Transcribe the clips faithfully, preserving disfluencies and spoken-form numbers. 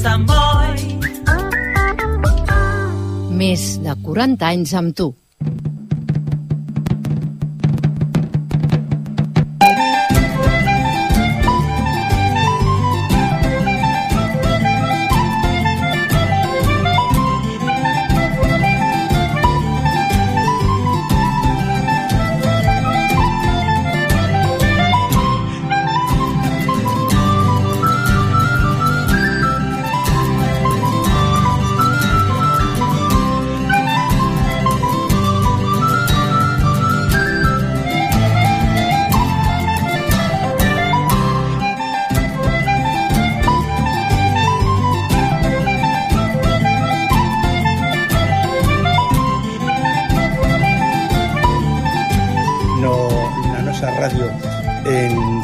Sant Boi. Més de quaranta anys amb tu.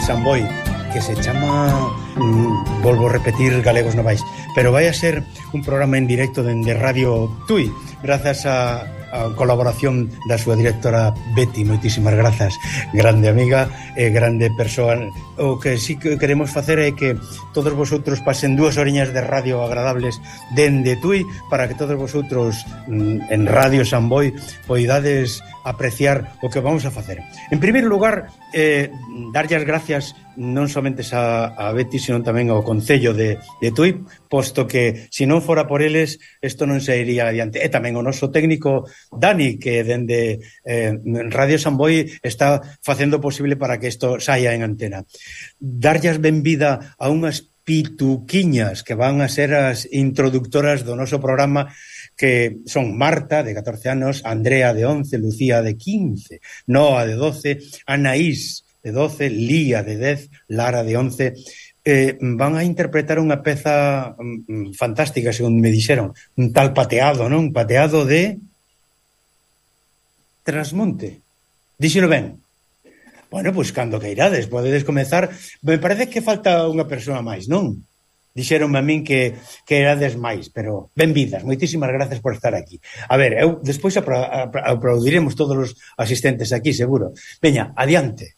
Sant Boi, que se chama, mm, volvo a repetir, Galegos Novais, pero vai a ser un programa en directo dende Radio Tui, grazas a, a colaboración da súa directora Betty. Moitísimas grazas, grande amiga e grande persoa. O que sí que queremos facer é que todos vosotros pasen dúas oriñas de radio agradables dende Tui, para que todos vosotros mm, en Radio Sant Boi poidades apreciar o que vamos a facer. En primeiro lugar, eh, darlle as gracias non somente a, a Betty, sino tamén ao Concello de, de Tui, posto que se non fora por eles isto non se iría adiante. E tamén o noso técnico Dani, que dende eh, Radio Sant Boi está facendo posible para que isto saia en antena. Darlle as benvida a unhas pituquiñas que van a ser as introductoras do noso programa, que son Marta, de catorce anos, Andrea, de once, Lucía, de quince, Noa, de doce, Anaís, de doce, Lía, de dez, Lara, de once. Eh, van a interpretar unha peza mm, fantástica, según me dixeron, un tal pateado, non? Un pateado de Trasmonte. Díxelo ben. Bueno, pois pues, cando que irades, podedes comezar. Me parece que falta unha persoa máis, non? Dixeronme a min que, que erades máis, pero benvidas, moitísimas gracias por estar aquí. A ver, eu despois apra, apra, aplaudiremos todos os asistentes aquí, seguro. Veña, adiante.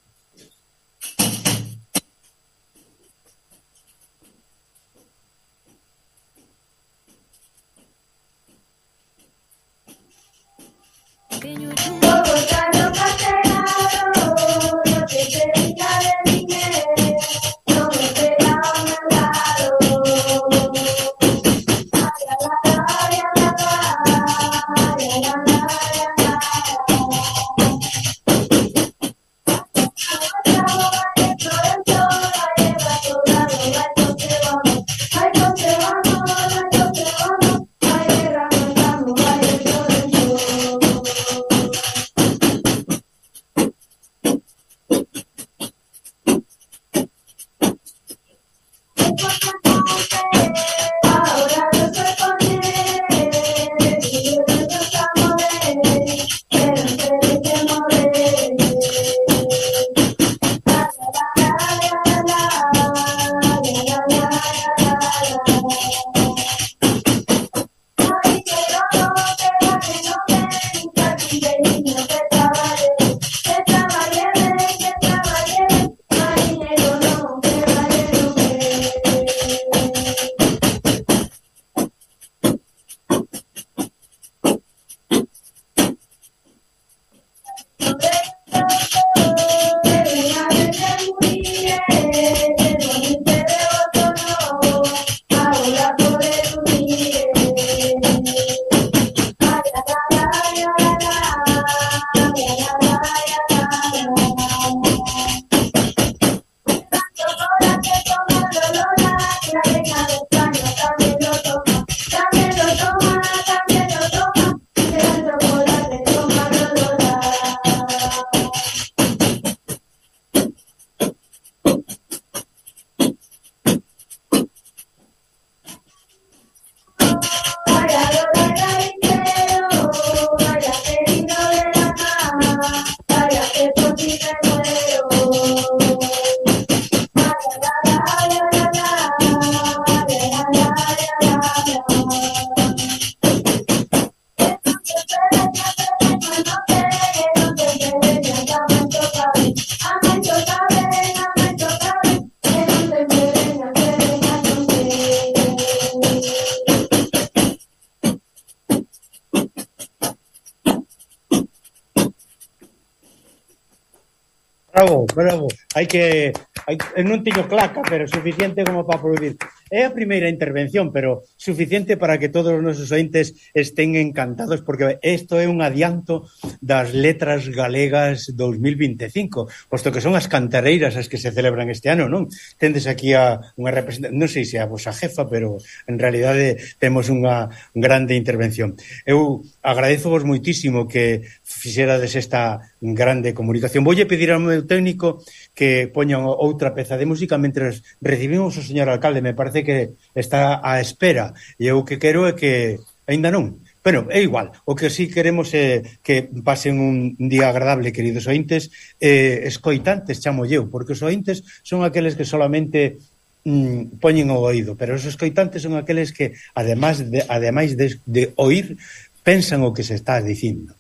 Bravo, bravo. Hai que... Hai, non teño claca, pero suficiente como para aplaudir. É a primeira intervención, pero suficiente para que todos os nosos ointes estén encantados, porque isto é un adianto das letras galegas dos mil vinte e cinco, posto que son as cantareiras as que se celebran este ano, non? Tendes aquí a unha representación, non sei se a vosa jefa, pero en realidade temos unha grande intervención. Eu agradezovos moitísimo que fixerades esta grande comunicación. Voulle pedir ao meu técnico que poñan outra peza de música mentre recibimos o señor alcalde. Me parece que está á espera e eu que quero é que aínda non. Bueno, é igual, o que sí queremos é que pasen un día agradable, queridos ointes, eh, escoitantes, chamo eu, porque os ointes son aqueles que solamente mm, poñen o oído, pero os escoitantes son aqueles que, ademais de, ademais de, de oír, pensan o que se está dicindo.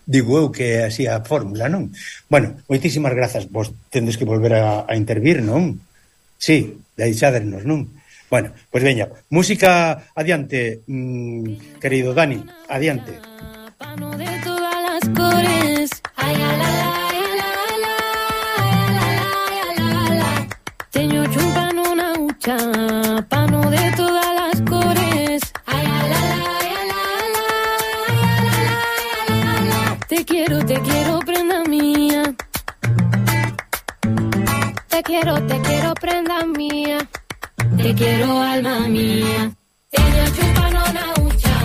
Digo eu que é así a fórmula, non? Bueno, moitísimas grazas. Vos tendes que volver a, a intervir, non? Sí, deixádenos, non? Bueno, pois pues veña, música adiante, mmm, querido Dani, adiante. Pano de todas las cores, ay, la, la, la, la, la, la, la. Teño chumpan una hucha, pano de todas las cores, ay, la, la, la, la, la. Te quiero, te quiero, prenda mía. Te quiero, te quiero, prenda mía. Te quiero, alma mía. Teño chumpan una hucha,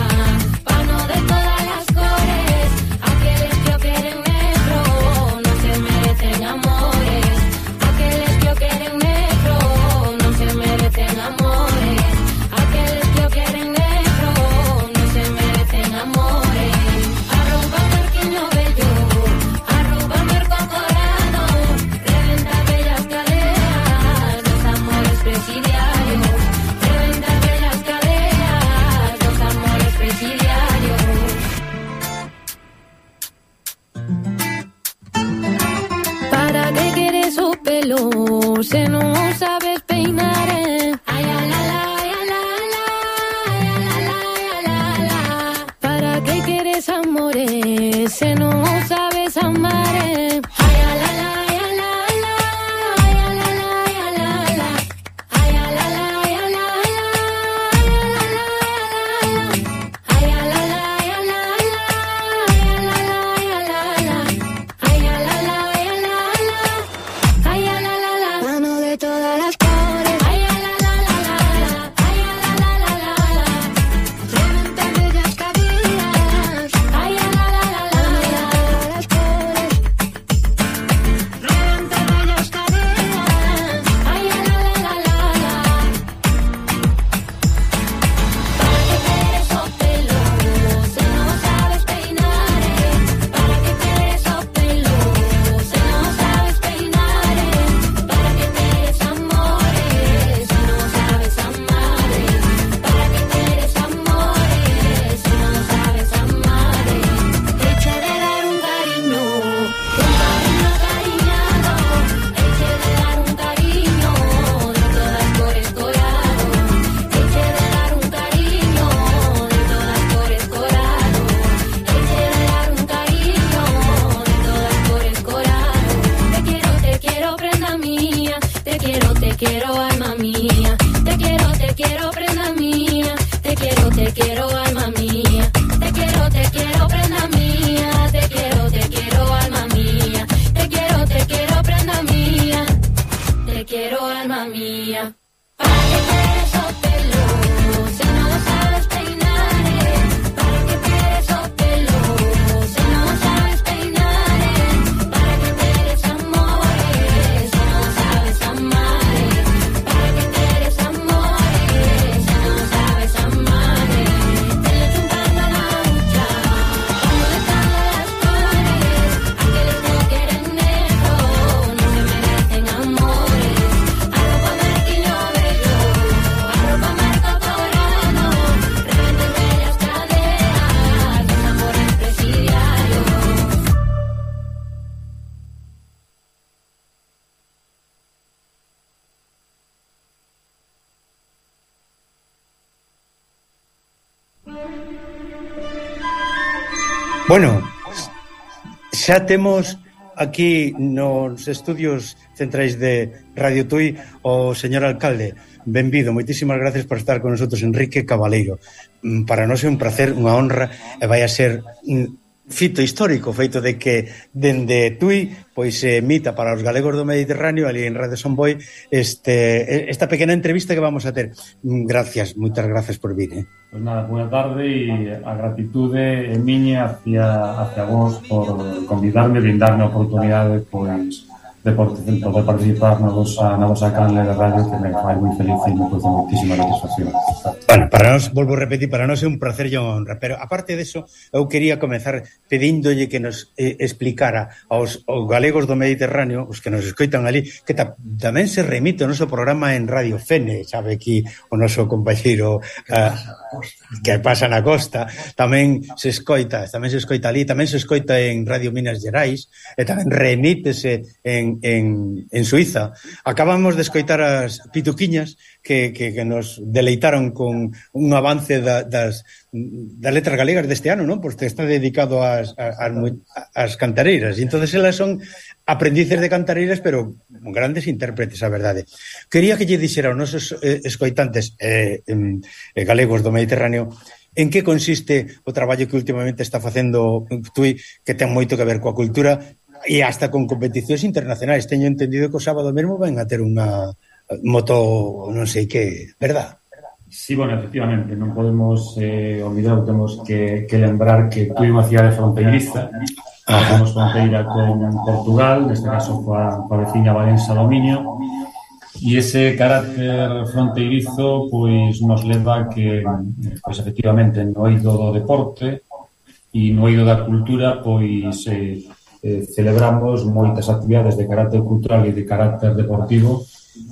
pano de todas las cores. Aqueles que o queren negro non se merecen amores. Aqueles que o queren negro non se merecen amores. Aqueles que o queren negro non se merecen amores. Arroba marquiño bello, arroba marco corano. Reventa bellas cadeas dos amores presidiarios. Reventa bellas cadeas dos amores presidiarios. ¿Para qué quieres o pelo? Se no sabes peinar, eh. Ay, la, la, la, la, la, la, la, la, la. ¿Para qué quieres amores? Se no sabes amar, eh. Ay, la, la, la, la, la, ay, la, la, la, la. Ay, la, la, la, la, ay, la, la, la, la. Mano de todas las cores, ay, la, la, la, la, ay, la, la, la, la, reventa bellas caderas, ay, la, la, la, la, las cores, reventa bellas caderas, ay, la, la, la, la, ¿para qué quieres o pelo? Si no sabes peinar, ¿para qué quieres o pelo? Si no sabes peinar, ¿para qué quieres amores? Si no sabes amar, ¿para qué quieres amores? Si no sabes amar, eche de dar un cariño, un cariño cariñado, eche de dar un cariño de todas por escorado, eche de dar un cariño de todas por escorado, eche de dar un cariño de todas por escorado. Te quiero, te quiero, prenda mía. Te quiero, te quiero, alma mía. Te quiero, te quiero, prenda mía. Te quiero, te quiero, alma mía. Te quiero, te quiero, prenda mía. Te quiero, te quiero, alma mía. Te quiero, te quiero, prenda mía. Te quiero, alma mía. ¿Para qué quieres o pelo? Si no sabes peinar, ¿para qué quieres o pelo? Si no sabes peinar, ¿para qué quieres amores? Si no sabes amar, ¿para qué quieres amores? Si no sabes amar, te le chumpando la hucha, como de todas las cores. Aqueles que o queren negro non se merecen amores. Arroba marquiño bello, arroba marco corano. Reventa bellas cadeas dos amores presidiarios. Bueno, xa temos aquí nos estudios centrais de Radio Tui o señor alcalde. Benvido, moitísimas gracias por estar con nosotros, Enrique Cabaleiro. Para nós é un placer, unha honra, e vai a ser fito histórico, feito de que dende Tui pois se emita para os galegos do Mediterráneo ali en Radio Son Boi este, esta pequena entrevista que vamos a ter. Gracias, moitas gracias por vir, eh? Pois nada, boa tarde e a gratitude é miña hacia, hacia vos por convidarme e darme a oportunidade pois de poder participar na vosa, na vosa canle de radio, que me fai moi feliz e me produce moitísima satisfacción. Bueno, para nós, volvo a repetir, para nós é un placer e unha honra, pero aparte deso, eu quería comezar pedíndolle que nos eh, explicara aos, aos galegos do Mediterráneo, os que nos escoitan ali, que ta, tamén se remite o noso programa en Radio Fene, sabe aquí o noso compañeiro uh, que pasa na costa, tamén se escoita, tamén se escoita ali, tamén se escoita en Radio Minas Gerais, e tamén remítese en En, en Suiza. Acabamos de escoitar as pituquiñas que, que, que nos deleitaron con un avance da, das, das letras galegas deste ano, non? Porque está dedicado ás, ás, ás cantareiras, e entonces elas son aprendices de cantareiras, pero grandes intérpretes, a verdade. Quería que lle dixera aos nosos eh, escoitantes eh, eh, galegos do Mediterráneo en que consiste o traballo que últimamente está facendo Tui, que ten moito que ver coa cultura e hasta con competicións internacionais. Teño entendido que o sábado mesmo van a ter unha moto non sei que, verdad? Sí, bueno, efectivamente, non podemos eh, olvidar, temos que, que lembrar que Tui é unha cidade fronteiriza, temos fronteira con Portugal, neste caso coa, coa veciña Valença do Miño, e ese carácter fronteirizo pois nos leva a que, pois efectivamente, no eido do deporte e no eido da cultura, pois eh, Eh, celebramos moitas actividades de carácter cultural e de carácter deportivo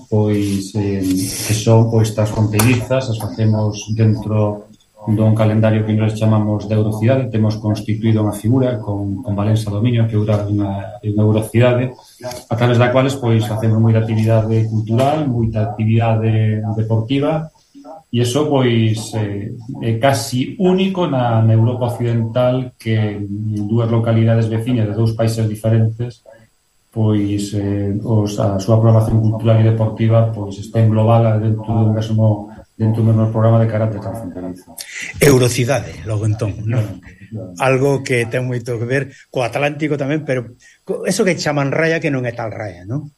pois eh, que son pois transfronteirizas, as facemos dentro dun calendario que nos chamamos de Eurocidade. Temos constituído unha figura con, con Valença do Miño, que é unha, unha Eurocidade, a través da cuales pois facemos moita actividade cultural, moita actividade deportiva. E iso, pois, eh, é casi único na, na Europa Occidental, que dúas localidades veciñas de dous países diferentes, pois, eh, os, a súa programación cultural e deportiva, pois, está englobada dentro do mesmo, dentro do mesmo programa de carácter transfronterizo. Eurocidade, logo entón, non? Algo que ten moito que ver co Atlántico tamén, pero eso que chaman raya que non é tal raya, non?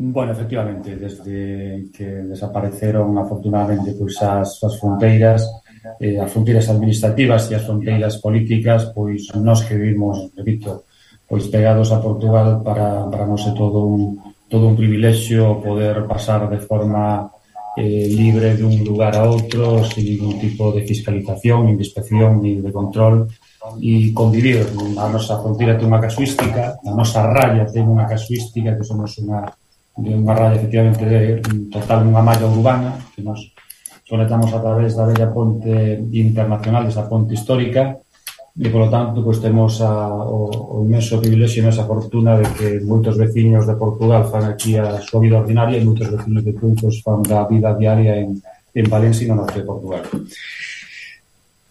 Bueno, efectivamente, desde que desapareceron afortunadamente pois as, as fronteiras, eh, as fronteiras administrativas e as fronteiras políticas, pois nós que vivimos, repito, pois pegados a Portugal, para, para nós é todo un, todo un privilexio poder pasar de forma eh, libre de un lugar a outro, sin ningún tipo de fiscalización, ni de inspección, ni de control, e convivir. A nosa fronteira ten unha casuística, a nosa raya ten unha casuística, que somos unha de unha raya efectivamente de total unha malla urbana que nos conectamos a través da bella ponte internacional, desa ponte histórica, e polo tanto pois temos a, o, o inmenso privilexio e esa fortuna de que moitos veciños de Portugal fan aquí a súa vida ordinaria e moitos veciños de Tui pois fan da vida diaria en, en Valencia e no norte de Portugal.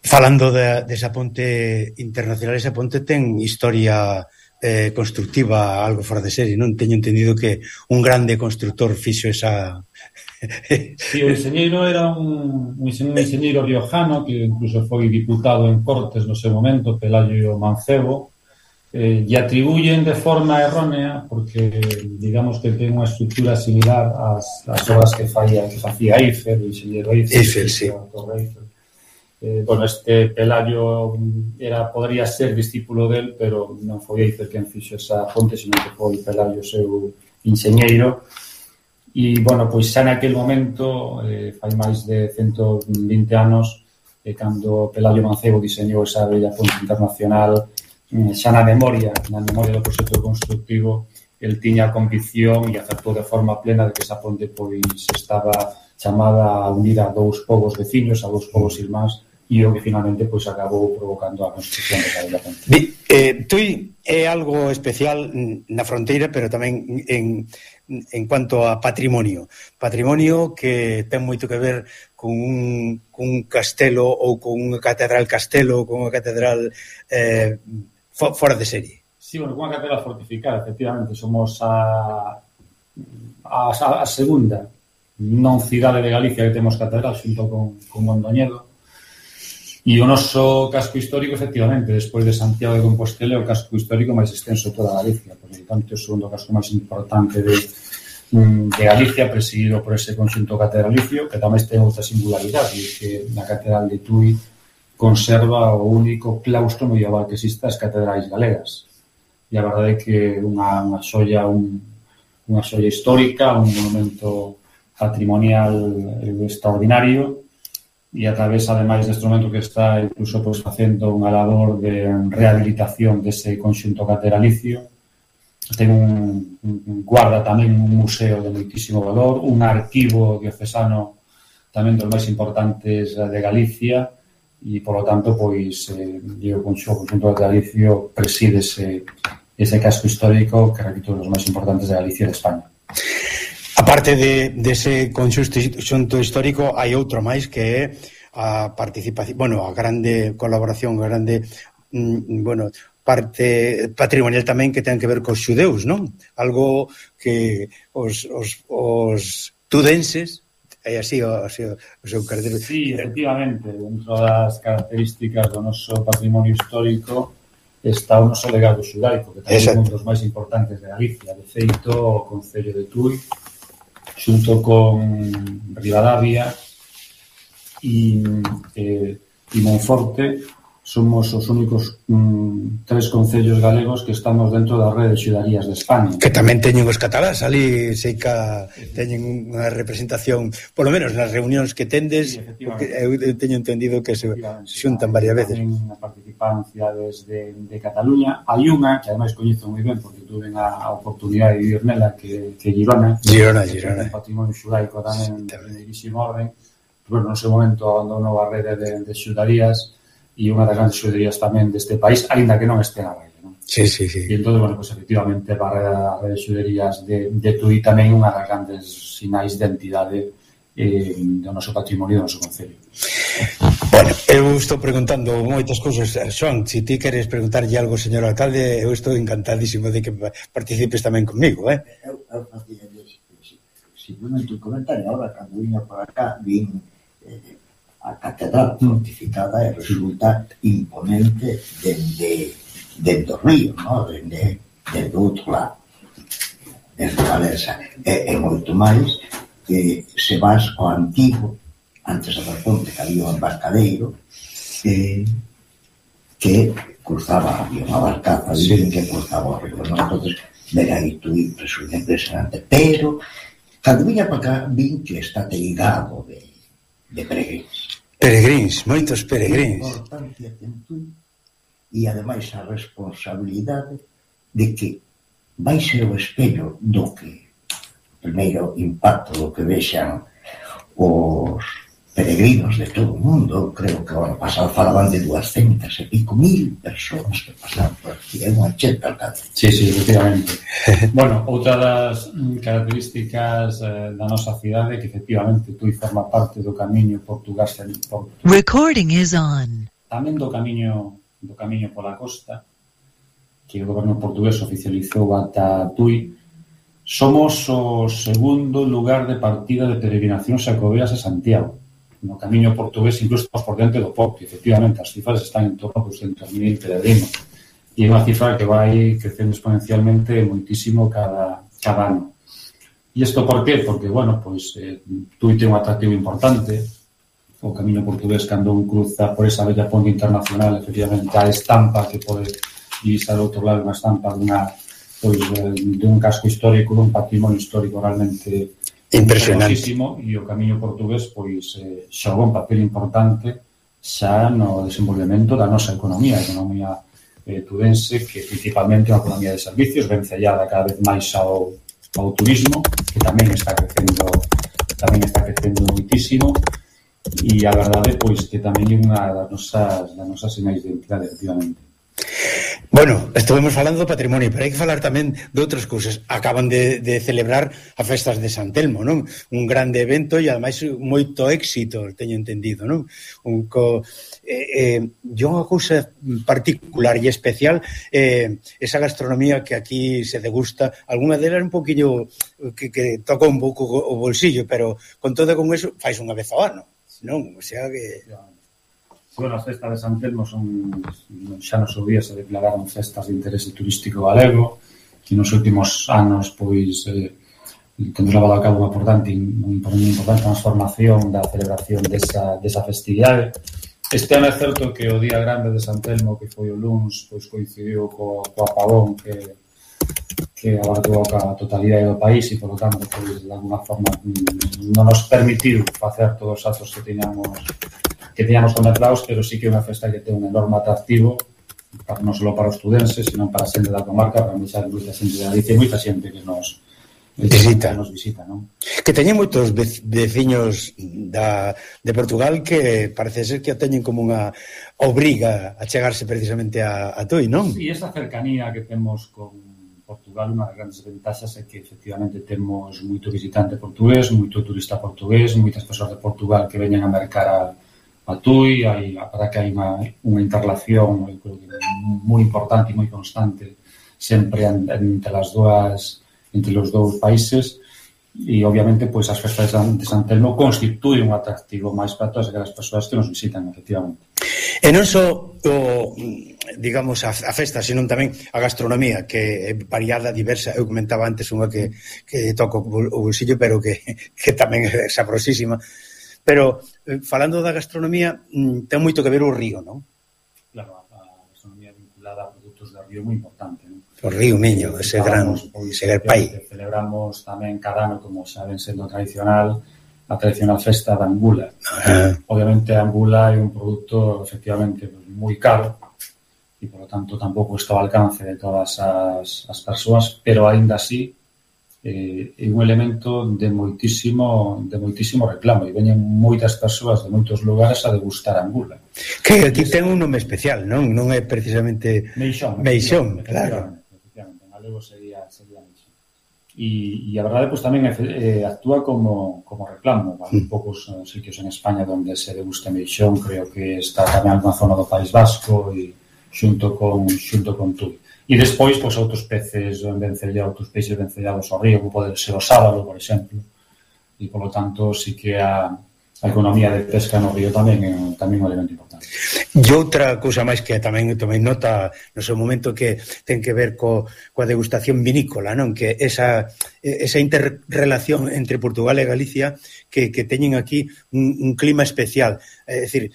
Falando de, desa ponte internacional, esa ponte ten historia Eh, constructiva algo fora de serie, non? Teño entendido que un grande constructor fixo esa... Sí, o enxeñeiro era un, un enxeñeiro riojano que incluso foi diputado en Cortes no seu momento, Pelayo Mancebo, eh, e atribuyen de forma errónea, porque digamos que ten unha estructura similar ás, ás obras que, falla, que facía Eiffel, o enxeñeiro Eiffel, Eiffel, sí. Eiffel. Eh, bueno, este Pelayo era, podría ser discípulo del, pero non foi Eiffel quen fixo esa fonte, sino que foi Pelayo seu enxeñeiro. E, bueno, pois xa naquele momento, eh, fai máis de cento vinte anos, eh, cando Pelayo Mancebo diseñou esa bella fonte internacional, eh, xa na memoria, na memoria do proxecto constructivo, el tiña a convicción e acertou de forma plena de que esa ponte pois estaba chamada a unir a dous povos veciños, a dous povos irmáns, e o que finalmente pois acabou provocando a construcción de cada ponte. Eh, Tui é algo especial na fronteira, pero tamén en, en cuanto a patrimonio. Patrimonio que ten moito que ver con un, con un castelo ou con unha catedral castelo ou con unha catedral eh, fora de serie. Sí, bueno, unha catedral fortificada, efectivamente, somos a, a, a segunda non cidade de Galicia que temos catedral xunto con, con Mondoñedo. E o noso casco histórico, efectivamente, despois de Santiago de Compostela, é o casco histórico máis extenso de toda Galicia. Por lo tanto, é o segundo casco máis importante de, de Galicia, presidido por ese conxunto catedralicio, que tamén ten outra singularidade, e que na catedral de Tui conserva o único claustro medieval que existe as catedrais galegas. E a verdade é que unha, unha xoia, un, unha xoia histórica, un monumento patrimonial extraordinario, e a través, ademais, deste momento que está incluso pues, facendo unha labor de rehabilitación dese conxunto catedralicio. Ten un, un guarda tamén un museo de moitísimo valor, un arquivo diocesano tamén dos máis importantes de Galicia, e, polo tanto, pois, eh, o conxunto catedralicio preside ese, ese casco histórico que, repito, dos máis importantes de Galicia e de España. A parte de, de ese conxunto histórico, hai outro máis que é a participación, bueno, a grande colaboración, a grande, mm, bueno, parte patrimonial tamén que ten que ver cos xudeus, non? Algo que os, os, os tudenses, é así o, así, o seu cartel. Sí, efectivamente, dentro das características do noso patrimonio histórico está o noso legado xudaico, que tamén é un dos máis importantes de Galicia. De feito, o Concello de Tui, xunto con Ribadavia e, eh, e Monforte, somos os únicos mm, tres concellos galegos que estamos dentro da rede de xudarías de España. Que tamén teñen os catalás, ali sei que teñen unha representación, polo menos nas reunións que tendes, sí, eu teño entendido que se xuntan varias veces. Tamén a participancia desde de Cataluña. Hai unha, que ademais coñezo moi ben, porque tuve a, a oportunidade de vivir nela, que, que Girona. Girona, Girona. Un patrimonio xudaico tamén de primeirísimo orden. Bueno, no seu momento abandonou a rede de, de xudarías, e unha das grandes xuderías tamén deste país, aínda que non este na rede, non? Sí, sí, sí. E entón, bueno, pues, efectivamente, a rede de xuderías de, de Tui tamén unha das grandes sinais de identidade eh, do noso patrimonio, do noso concello. Bueno, eu estou preguntando moitas cousas. Xoan, se ti queres preguntarlle algo, señor alcalde, eu estou encantadísimo de que participes tamén comigo, eh? Eu, eu facía simplemente un comentario. Ahora, cando viña por acá, vin eh, a catedral fortificada e resulta imponente dende, dende o río, no? dende, dende outro lado, desde Valesa. E, e moito máis que se vas ao antigo, antes da ponte que había un embarcadeiro eh, que cruzaba, había unha barcaza sí. que cruzaba o río, no? Entonces, ver aí tú resulta impresionante, pero cando viña para acá vin que está teigado de, de peregrins. Peregrins, moitos peregrins. A importancia que tú, e ademais a responsabilidade de que vai ser o espello do que primeiro impacto do que vexan os peregrinos de todo o mundo. Eu creo que o ano pasado falaban de duascentas e pico mil persoas que pasaron por aquí, é unha cheta alcance. Sí, sí, efectivamente. Bueno, outra das características eh, da nosa cidade que efectivamente Tui forma parte do camiño Portugal. Recording is on. Tamén do camiño do camiño pola costa, que o goberno portugués oficializou ata Tui. Somos o segundo lugar de partida de peregrinacións xacobeas a Santiago. No camiño portugués incluso estamos por diante do Porto. Efectivamente, as cifras están en torno a doscientos mil peregrinos. E é unha cifra que vai crecendo exponencialmente moitísimo cada, cada ano. E isto por qué? Porque, bueno, pois, eh, Tui ten un atractivo importante. O camiño portugués, cando un cruza por esa bella ponte internacional, efectivamente, a estampa que pode divisar ao outro lado, unha estampa dunha, pois, de un casco histórico, dun patrimonio histórico realmente impresionante. E o camiño portugués, pois, eh, xogou un papel importante xa no desenvolvemento da nosa economía, a economía eh, tudense, que principalmente é unha economía de servicios, vencellada cada vez máis ao, ao turismo, que tamén está crecendo, tamén está crecendo moitísimo, e a verdade, pois, que tamén é unha das nosas, das nosas sinais de identidade, efectivamente. Bueno, estuvemos falando do patrimonio, pero hai que falar tamén de outras cousas. Acaban de, de celebrar a festas de San Telmo, non? Un grande evento e, ademais, moito éxito, teño entendido, non? Un co... Eh, eh, unha cousa particular e especial eh, esa gastronomía que aquí se degusta, alguna delas un poquinho que, que toca un pouco o bolsillo, pero con todo con eso fais unha vez ao ano, non? O sea que... Bueno, as festas de San Telmo son, xa nos seu día se declararon festas de interese turístico galego, que nos últimos anos, pois, eh, temos levado a cabo unha importante, unha importante transformación da celebración desa, desa festividade. Este ano é certo que o día grande de San Telmo, que foi o luns, pois coincidiu co, co apagón que, que abarcou a totalidade do país e, por lo tanto, pois, de alguna forma non nos permitiu facer todos os atos que teñamos que teñamos contemplados, pero sí que é unha festa que ten un enorme atractivo, para, non só para os estudenses, sino para a xente da comarca, para moita xente de Galicia e moita xente que nos visita, que nos visita, non? Que teñen moitos veciños da, de Portugal que parece ser que a teñen como unha obriga a chegarse precisamente a, a Tui, non? Sí, esa cercanía que temos con Portugal, unha das grandes ventaxas é que efectivamente temos moito visitante portugués, moito turista portugués, moitas persoas de Portugal que veñen a mercar a a Tui, hai, para que hai unha, unha interrelación moi importante e moi constante sempre entre as dúas, entre os dous países, e obviamente pois as festas de San, de San Telmo constituen un atractivo máis para todas aquelas persoas que nos visitan, efectivamente. E non só o, digamos, a, a festa, senón tamén a gastronomía, que é variada, diversa. Eu comentaba antes unha que, que toco o bolsillo, pero que, que tamén é sabrosísima. Pero, eh, falando da gastronomía, ten moito que ver o río, non? Claro, a gastronomía vinculada a produtos de río é moi importante, non? O río Miño, ese gran, ese gran pai. Celebramos tamén cada ano, como xa ven sendo tradicional, a tradicional festa da angula. Ajá. Obviamente a angula é un produto, efectivamente, moi caro, e, por lo tanto, tampouco está ao alcance de todas as, as persoas, pero, aínda así, eh, é un elemento de moitísimo de moitísimo reclamo e veñen moitas persoas de moitos lugares a degustar a angula. Que aquí ten un nome especial, non? Non é precisamente Meixón. Meixón, claro. Efectivamente, en galego sería, sería Meixón. E, e a verdade, pois, tamén eh, actúa como, como reclamo. Hai mm. poucos uh, sitios en España onde se degusta Meixón, creo que está tamén alguna zona do País Vasco e xunto con, xunto con Tui. E despois, pois, outros peces vencellados, outros peixes vencellados ao río, como pode ser o sábalo, por exemplo, e, polo tanto, sí que a, a economía de pesca no río tamén é tamén un elemento importante. E outra cousa máis que tamén tomei nota no seu momento que ten que ver co, coa degustación vinícola, non? Que esa, esa interrelación entre Portugal e Galicia que, que teñen aquí un, un clima especial, é dicir,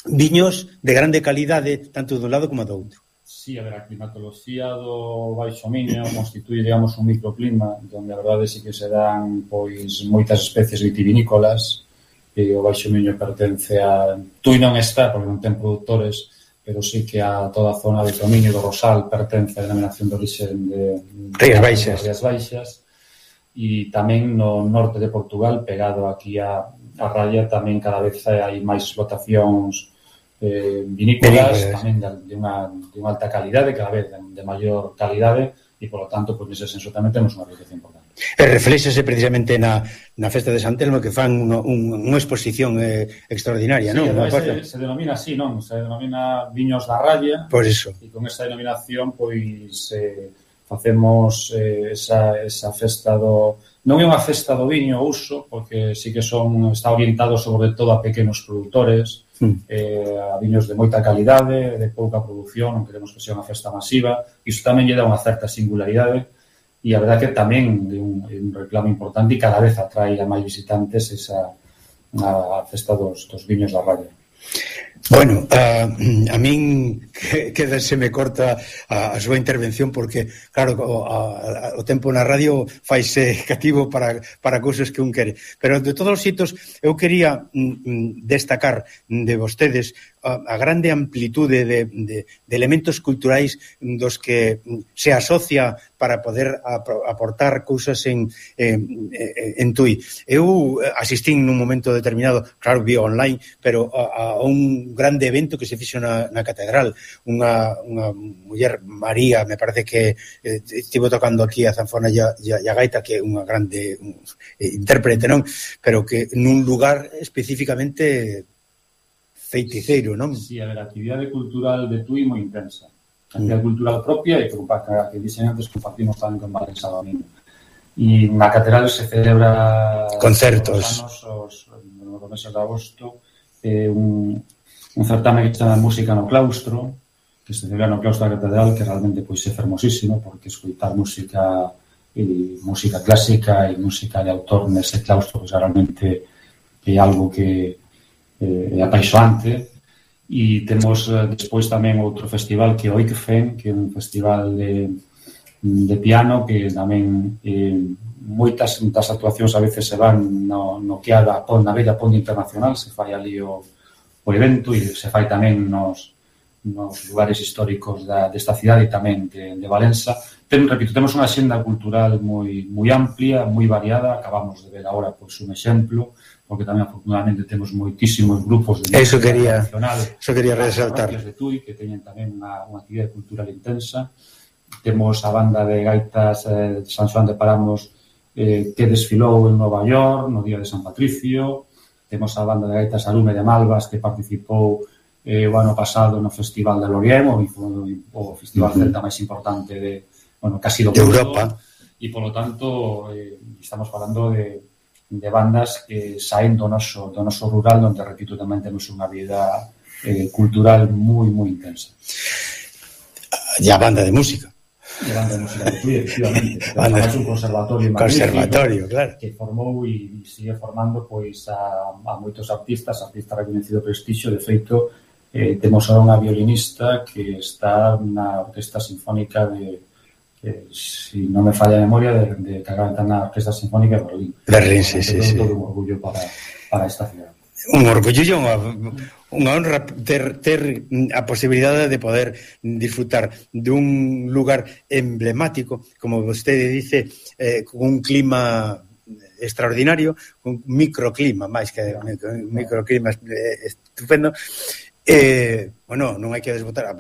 viños de grande calidade tanto dun lado como do outro. Sí, a ver, a climatoloxía do Baixo Miño constituye, digamos, un microclima onde a verdade sí que se dan pois moitas especies vitivinícolas e o Baixo Miño pertence a... Tui non está, porque non ten produtores, pero sí que a toda a zona de Tomiño do Rosal pertence a denominación de origen de Rías Baixas. Rías Baixas, e tamén no norte de Portugal, pegado aquí a, a raya, tamén cada vez hai máis explotacións Eh, vinícolas, vinícolas tamén de, de, unha, de unha alta calidade, cada vez de, de maior calidade, e, polo tanto, pois, nese senso tamén temos unha riqueza importante. E reflexase precisamente na, na festa de San Telmo, que fan un, un, unha exposición eh, extraordinaria, sí, non? Se, se denomina así, non? Se denomina Viños da Ralla. Por eso. E con esa denominación, pois, eh, facemos eh, esa, esa festa do... Non é unha festa do viño uso, porque sí que son está orientado sobre todo a pequenos produtores, mm. eh, a viños de moita calidade, de pouca produción, non queremos que sea unha festa masiva, e iso tamén lle dá unha certa singularidade, e a verdade que tamén é un, un reclamo importante e cada vez atrae a máis visitantes esa a festa dos, dos viños da Ralla. Bueno, a, a min que, que se me corta a, a súa intervención porque, claro, o, a, o tempo na radio faise cativo para, para cousas que un quere. Pero, de todos os xitos, eu quería mm, destacar de vostedes a, a grande amplitude de, de, de elementos culturais dos que se asocia para poder aportar cousas en, en, en Tui. Eu asistín nun momento determinado, claro, vía online, pero a, a un grande evento que se fixo na, na catedral. Unha, unha muller, María, me parece que eh, estivo tocando aquí a zanfona e a, a gaita, que é unha grande un, eh, intérprete, non? Pero que nun lugar especificamente feiticeiro, non? Si, sí, a ver, a actividade cultural de Tui moi intensa. A actividade mm. cultural propia e que, que dixen antes, compartimos tamén con Valença Domingo. E na catedral se celebra concertos os anos, os, nos meses de agosto, eh, un, un certame que se chama Música no Claustro, que se celebra no Claustro da catedral, que realmente pois é fermosísimo, porque escoitar música e música clásica e música de autor nese claustro, pois realmente é algo que eh, é apaixoante. E temos eh, despois tamén outro festival que é o Oikfen, que é un festival de de piano, que tamén eh, moitas das actuacións a veces se van no, no que a pon, na bella Ponte Internacional, se fai ali o, o evento e se fai tamén nos, nos lugares históricos da, desta cidade e tamén de, de Valença. Ten, repito, temos unha xenda cultural moi, moi amplia, moi variada, acabamos de ver agora pois, un exemplo, porque tamén afortunadamente temos moitísimos grupos de eso quería, nacional, eso quería resaltar de Tui, que teñen tamén unha, unha actividade cultural intensa. Temos a banda de gaitas eh, de San Xoán de Paramos eh, que desfilou en Nova York no día de San Patricio. Temos a banda de gaitas Arume de Malvas que participou eh, o ano pasado no Festival de Lorient, o, o festival uh-huh. celta máis importante de, bueno, casi do mundo. Europa. E, polo tanto, eh, estamos falando de, de bandas que saen do noso, do noso rural, onde, repito, tamén temos unha vida eh, cultural moi, moi intensa. E a banda de música. E a banda de música de Tui, efectivamente. Temos un conservatorio conservatorio, claro, que formou e sigue formando pois a, a moitos artistas, artistas reconhecido prestixio. De feito, eh, temos ahora unha violinista que está na Orquesta Sinfónica de, eh, si non me falla a memoria, de, de que acaba de estar na Orquesta Sinfónica de Berlín. Berlín, sí, sí, sí. Todo un orgullo para, para esta ciudad. Un orgullo e unha, unha honra ter, ter a posibilidade de poder disfrutar dun lugar emblemático, como vostede dice, eh, con un clima extraordinario, con un microclima, máis que un microclima estupendo. Eh, bueno, non hai que desbotar,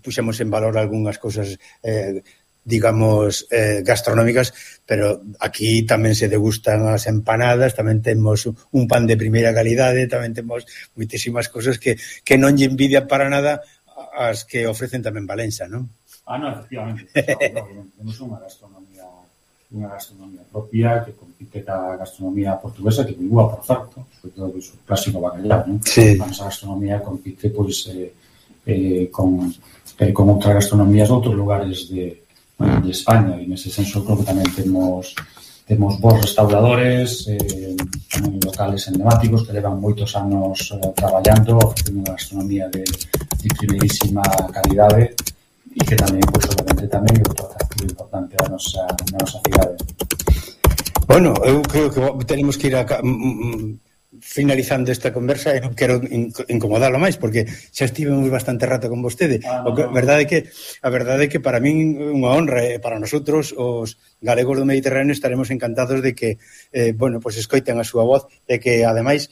puxemos en valor algunhas cousas eh, digamos, eh, gastronómicas, pero aquí tamén se degustan as empanadas, tamén temos un pan de primeira calidade, tamén temos moitísimas cousas que, que non lle envidian para nada as que ofrecen tamén Valença, non? Ah, non, efectivamente. No, no, temos unha gastronomía unha gastronomía propia que compite ca gastronomía portuguesa, que ninguna, por certo, sobre todo o clásico bacalhau, non? Sí. A nosa gastronomía compite, pois, eh, eh, con, eh, con outras gastronomías de outros lugares de de España, e nese senso creo que tamén temos temos bons restauradores, eh, tamén locales emblemáticos que levan moitos anos eh, traballando, ofrecendo unha gastronomía de, de primeirísima calidade e que tamén, pois, obviamente, tamén é outro atractivo importante da nosa, da nosa cidade. Bueno, eu creo que tenemos que ir a finalizando esta conversa e non quero incomodalo máis porque xa estivemos bastante rato con vostede. Ah, no, o que, no. verdade é que a verdade é que para min unha honra e para nosotros os galegos do Mediterráneo estaremos encantados de que eh, bueno, pues escoiten a súa voz e que ademais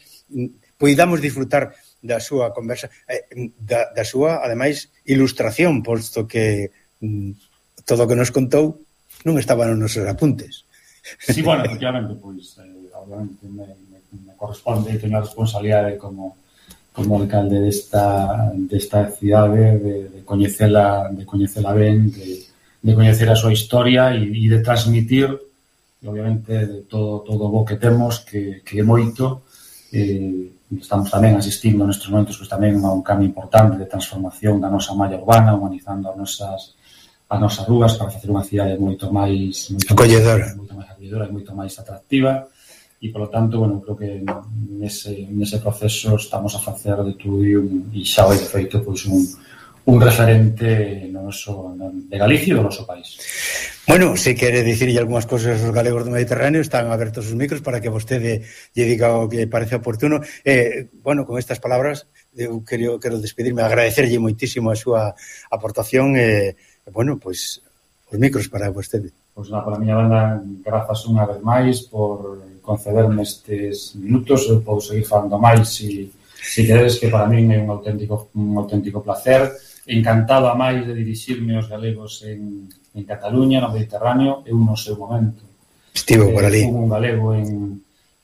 poidamos disfrutar da súa conversa, eh, da, da súa ademais ilustración, posto que mm, todo o que nos contou non estaba nos nosos apuntes. Sí, bueno, efectivamente, pois eh, obviamente me me corresponde, teño a responsabilidade como como alcalde desta desta cidade de, de coñecela de coñecela ben, de, de coñecer a súa historia e, e de transmitir, e obviamente de todo todo o bo que temos, que, que é moito. Eh, estamos tamén asistindo nestes momentos pues, tamén a un cambio importante de transformación da nosa malla urbana, humanizando as nosas as nosas rúas para facer unha cidade moito máis moito acolledora, moito máis acolledora e moito máis atractiva. E, polo tanto, bueno, creo que nese, nese proceso estamos a facer de Tui un, e xa vai de feito pois, un, un referente no noso, no, de Galicia e do noso país. Bueno, se quere dicirlle algunhas cousas aos galegos do Mediterráneo, están abertos os micros para que vostede lle diga o que parece oportuno. Eh, bueno, con estas palabras eu quero, quero despedirme, agradecerlle moitísimo a súa aportación e, eh, bueno, pois os micros para vostede. Pois na, pola miña banda, grazas unha vez máis por concederme estes minutos. Eu podo seguir falando máis e, Si queredes, que para min é un auténtico un auténtico placer, encantado a máis de dirixirme aos galegos en, en Cataluña, no Mediterráneo, eu no seu momento. Estivo por ali. Eh, un galego en,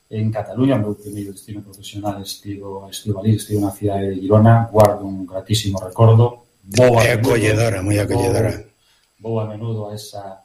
en Cataluña, o meu primeiro destino profesional estivo, estivo ali, estivo na cidade de Girona, guardo un gratísimo recordo. Vou É acolledora, moi acolledora. Vou, vou a menudo a esa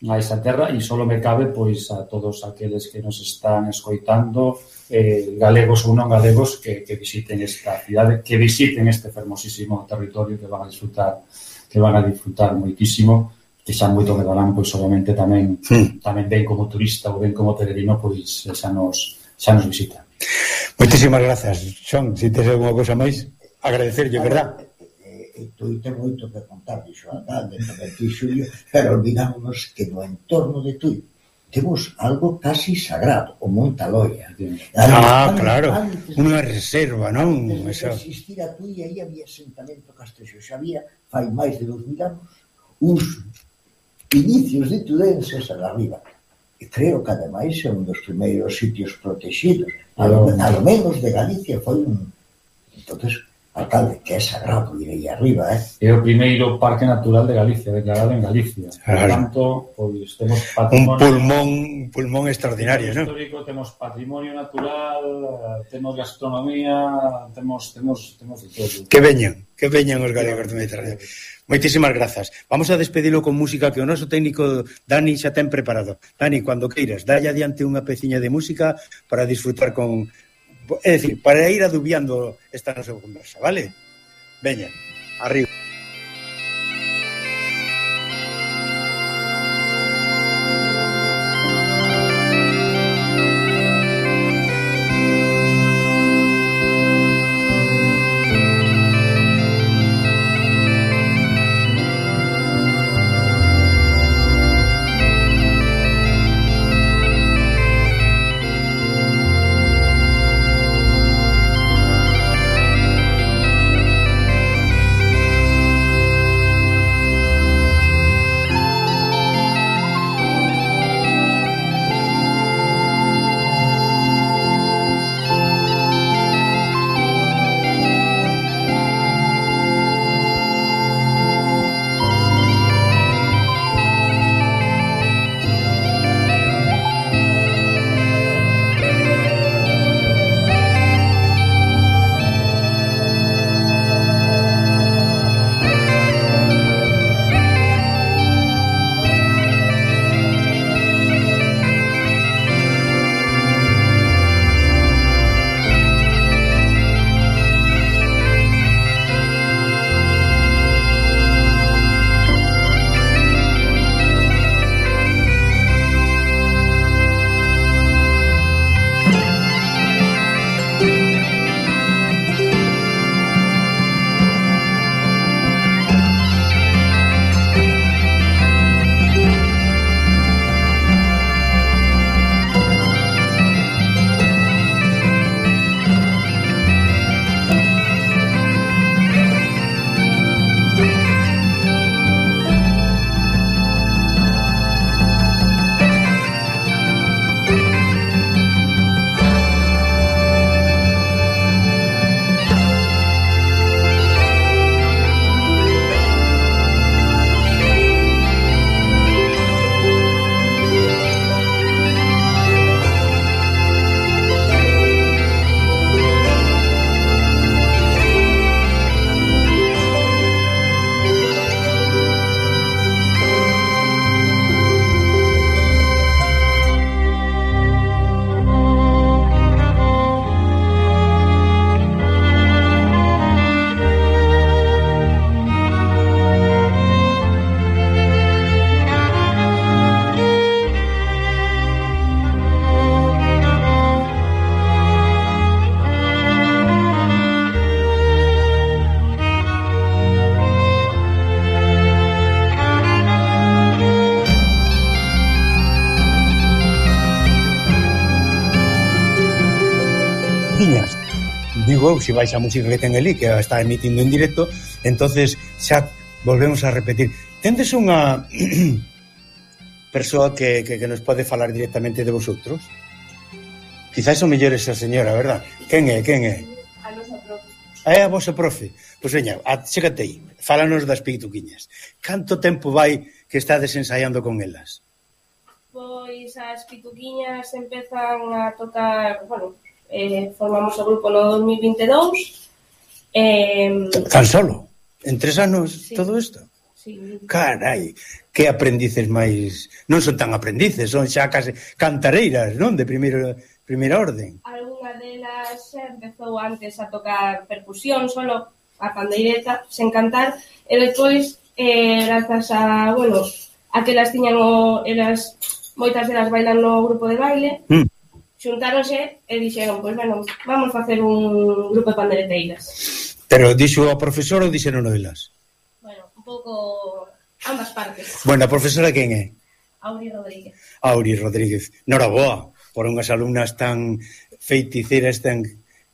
a esa terra e solo me cabe pois a todos aqueles que nos están escoitando, eh, galegos ou non galegos, que, que visiten esta cidade, que visiten este fermosísimo territorio, que van a disfrutar que van a disfrutar moitísimo, que xa moito que darán, pois obviamente tamén hmm. tamén ben como turista ou ben como peregrino, pois xa nos xa nos visita. Moitísimas grazas, Xon. Se tes alguma cousa máis, agradecerlle, verdad? E Tui ten moito que contar, dixo alcalde, tamén ti, Xulio, pero olvidámonos que no entorno de Tui temos algo casi sagrado, o Monte Aloia. Ah, claro, unha reserva, non? Antes de existir a Tui, aí había asentamento castrexo, xa había, fai máis de dos mil anos, uns inicios de tudenses a arriba. E creo que, ademais, é un dos primeiros sitios protegidos, ao menos de Galicia, foi un... Entonces, alcalde, que é sagrado ir aí arriba, eh? É o primeiro parque natural de Galicia, declarado en Galicia. Por tanto, pois temos Un patrimonio... pulmón, un pulmón extraordinario, non? Histórico, temos patrimonio natural, temos gastronomía, temos temos temos de todo. Que veñan, que veñan os galegos do Mediterráneo. Moitísimas grazas. Vamos a despedilo con música que o noso técnico Dani xa ten preparado. Dani, cando queiras, dalle adiante unha peciña de música para disfrutar con... É dicir, para ir adubiando esta nosa conversa, vale? Veña, arriba. digo, se vais a música que ten ali, que está emitindo en directo, entonces xa volvemos a repetir. Tendes unha persoa que, que, que nos pode falar directamente de vosotros? Quizás o mellor esa señora, verdad? Quen é, quen é? A nosa É a vosa profe. Pois veña, chégate aí, fálanos das pituquiñas. Canto tempo vai que estades ensaiando con elas? Pois as pituquiñas empezan a tocar, bueno, eh, formamos o grupo no dos mil vinte e dous. Eh, Tan solo? En tres anos sí. todo isto? Sí. Carai, que aprendices máis... Non son tan aprendices, son xa case cantareiras, non? De primeira, primeira orden. Algúna delas xa empezou antes a tocar percusión, solo a pandeireta, sen cantar, e depois, eh, grazas a, bueno, a que elas tiñan o, elas, moitas delas bailan no grupo de baile, mm. xuntáronse e dixeron, pois, bueno, vamos facer un grupo de pandeireteiras. Pero dixo a profesora ou dixeron elas? Bueno, un pouco ambas partes. Bueno, a profesora quen é? Auri Rodríguez. Auri Rodríguez. Noraboa, por unhas alumnas tan feiticeiras, tan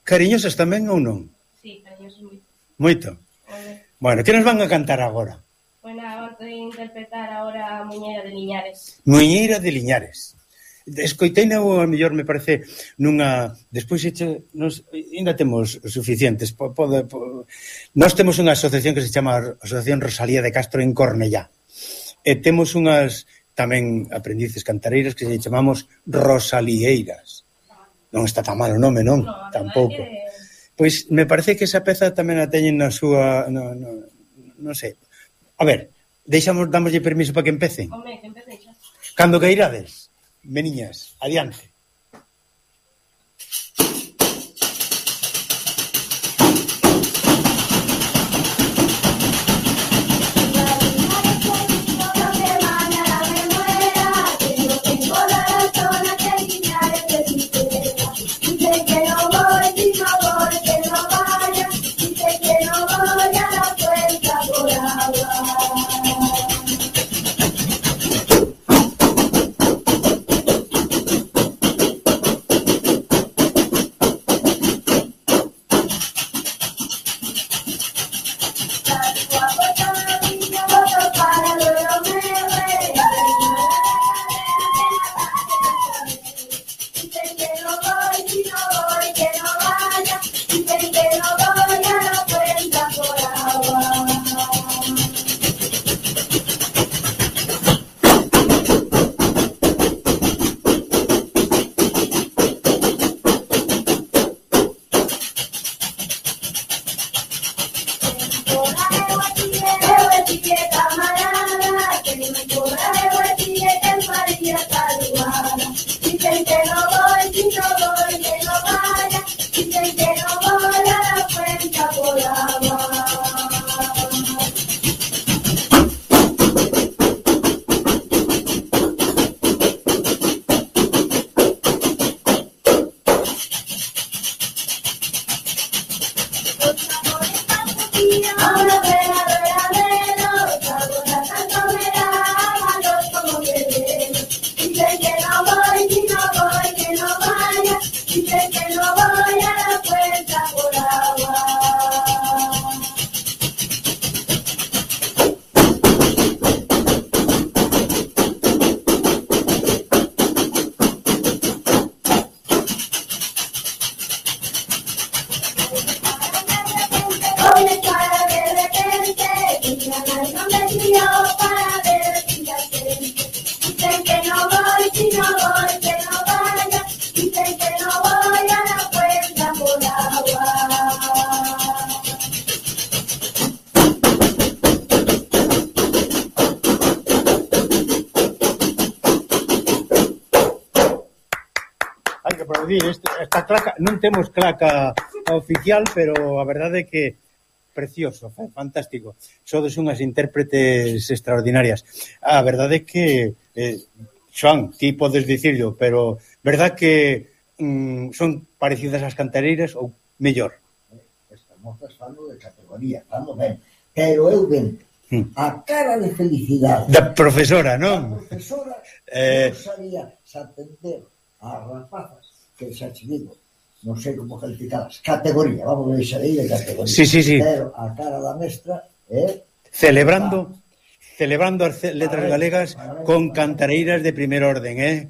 cariñosas tamén ou non? Sí, cariñosas moito. Moito? Vale. Bueno, que nos van a cantar agora? Bueno, vamos a interpretar agora a Muñeira de Liñares. Muñeira de Liñares. Escoiteina ou a mellor me parece nunha... Despois eche, nos, ainda temos suficientes. Pode, pode, nós temos unha asociación que se chama Asociación Rosalía de Castro en Cornellá. E temos unhas tamén aprendices cantareiras que se chamamos Rosalieiras. Non está tan mal o nome, non? No, tampouco. Que... Pois me parece que esa peza tamén a teñen na súa... No, no, non sei. A ver, deixamos, damoslle permiso para que empecen. Home, que empecen xa. Cando que irades, meniñas, adiante. Esta claca, non temos claca oficial, pero a verdade é que precioso, fantástico. Sodes unhas intérpretes extraordinarias. A verdade é que eh, Xoan, ti podes dicirlo, pero verdad que mm, son parecidas ás cantareiras ou mellor? Estamos falando de categoría, estamos ben, pero eu ben a cara de felicidade da profesora, non? A profesora eh... non sabía se atender a rapazas que xa te digo, non sei como calificadas, categoría, vamos a deixar aí de categoría. Sí, sí, sí. Pero a cara da mestra é... Celebrando, celebrando as letras galegas con cantareiras de primer orden, eh?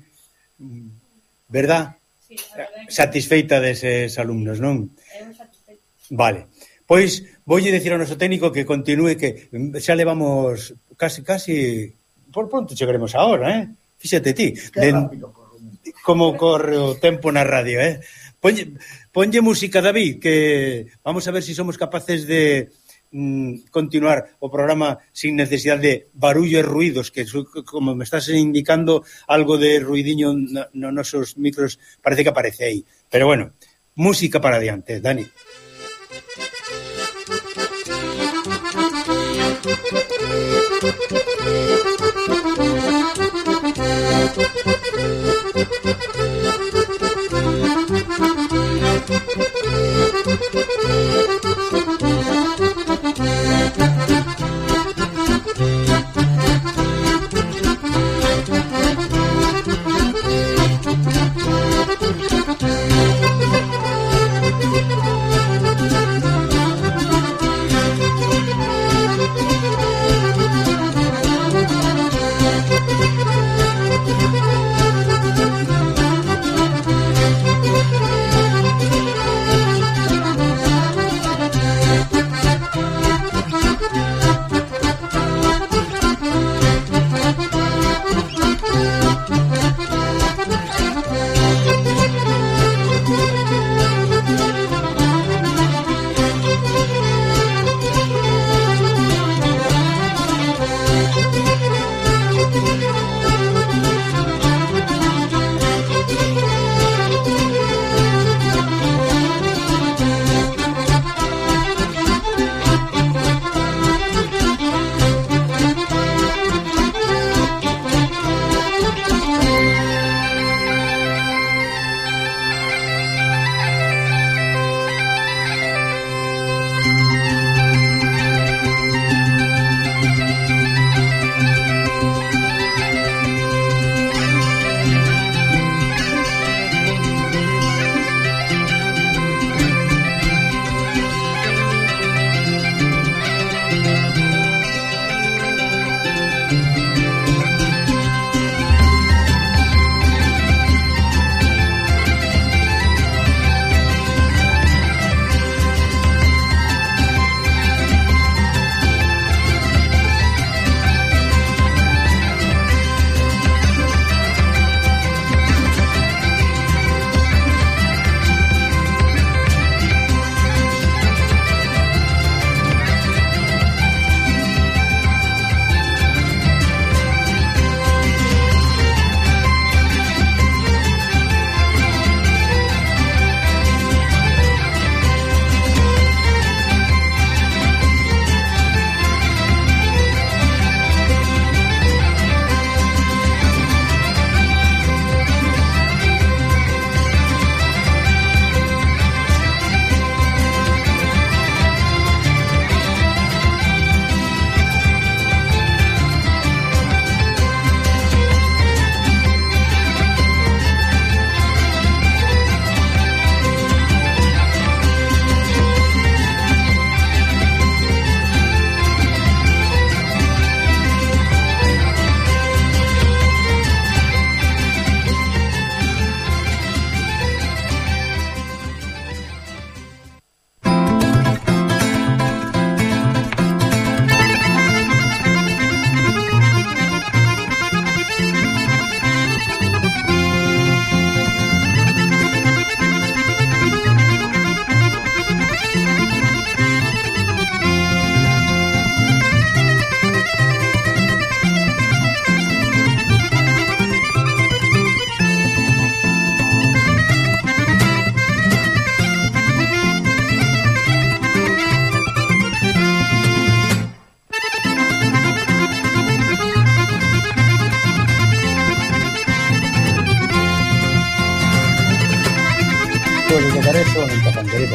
Verdad? Sí, satisfeita deses alumnos, non? Eu satisfeita. Vale. Pois voulle dicir ao noso técnico que continúe, que xa levamos casi, casi, por pronto chegaremos a hora, eh? Fíxate ti. Que rápido corre. Como corre o tempo na radio, eh? Ponlle, ponlle música, David, que vamos a ver se si somos capaces de mm, continuar o programa sin necesidade de barullo e ruidos, que como me estás indicando algo de ruidiño nos no nosos micros, parece que aparece aí. Pero bueno, música para adiante, Dani.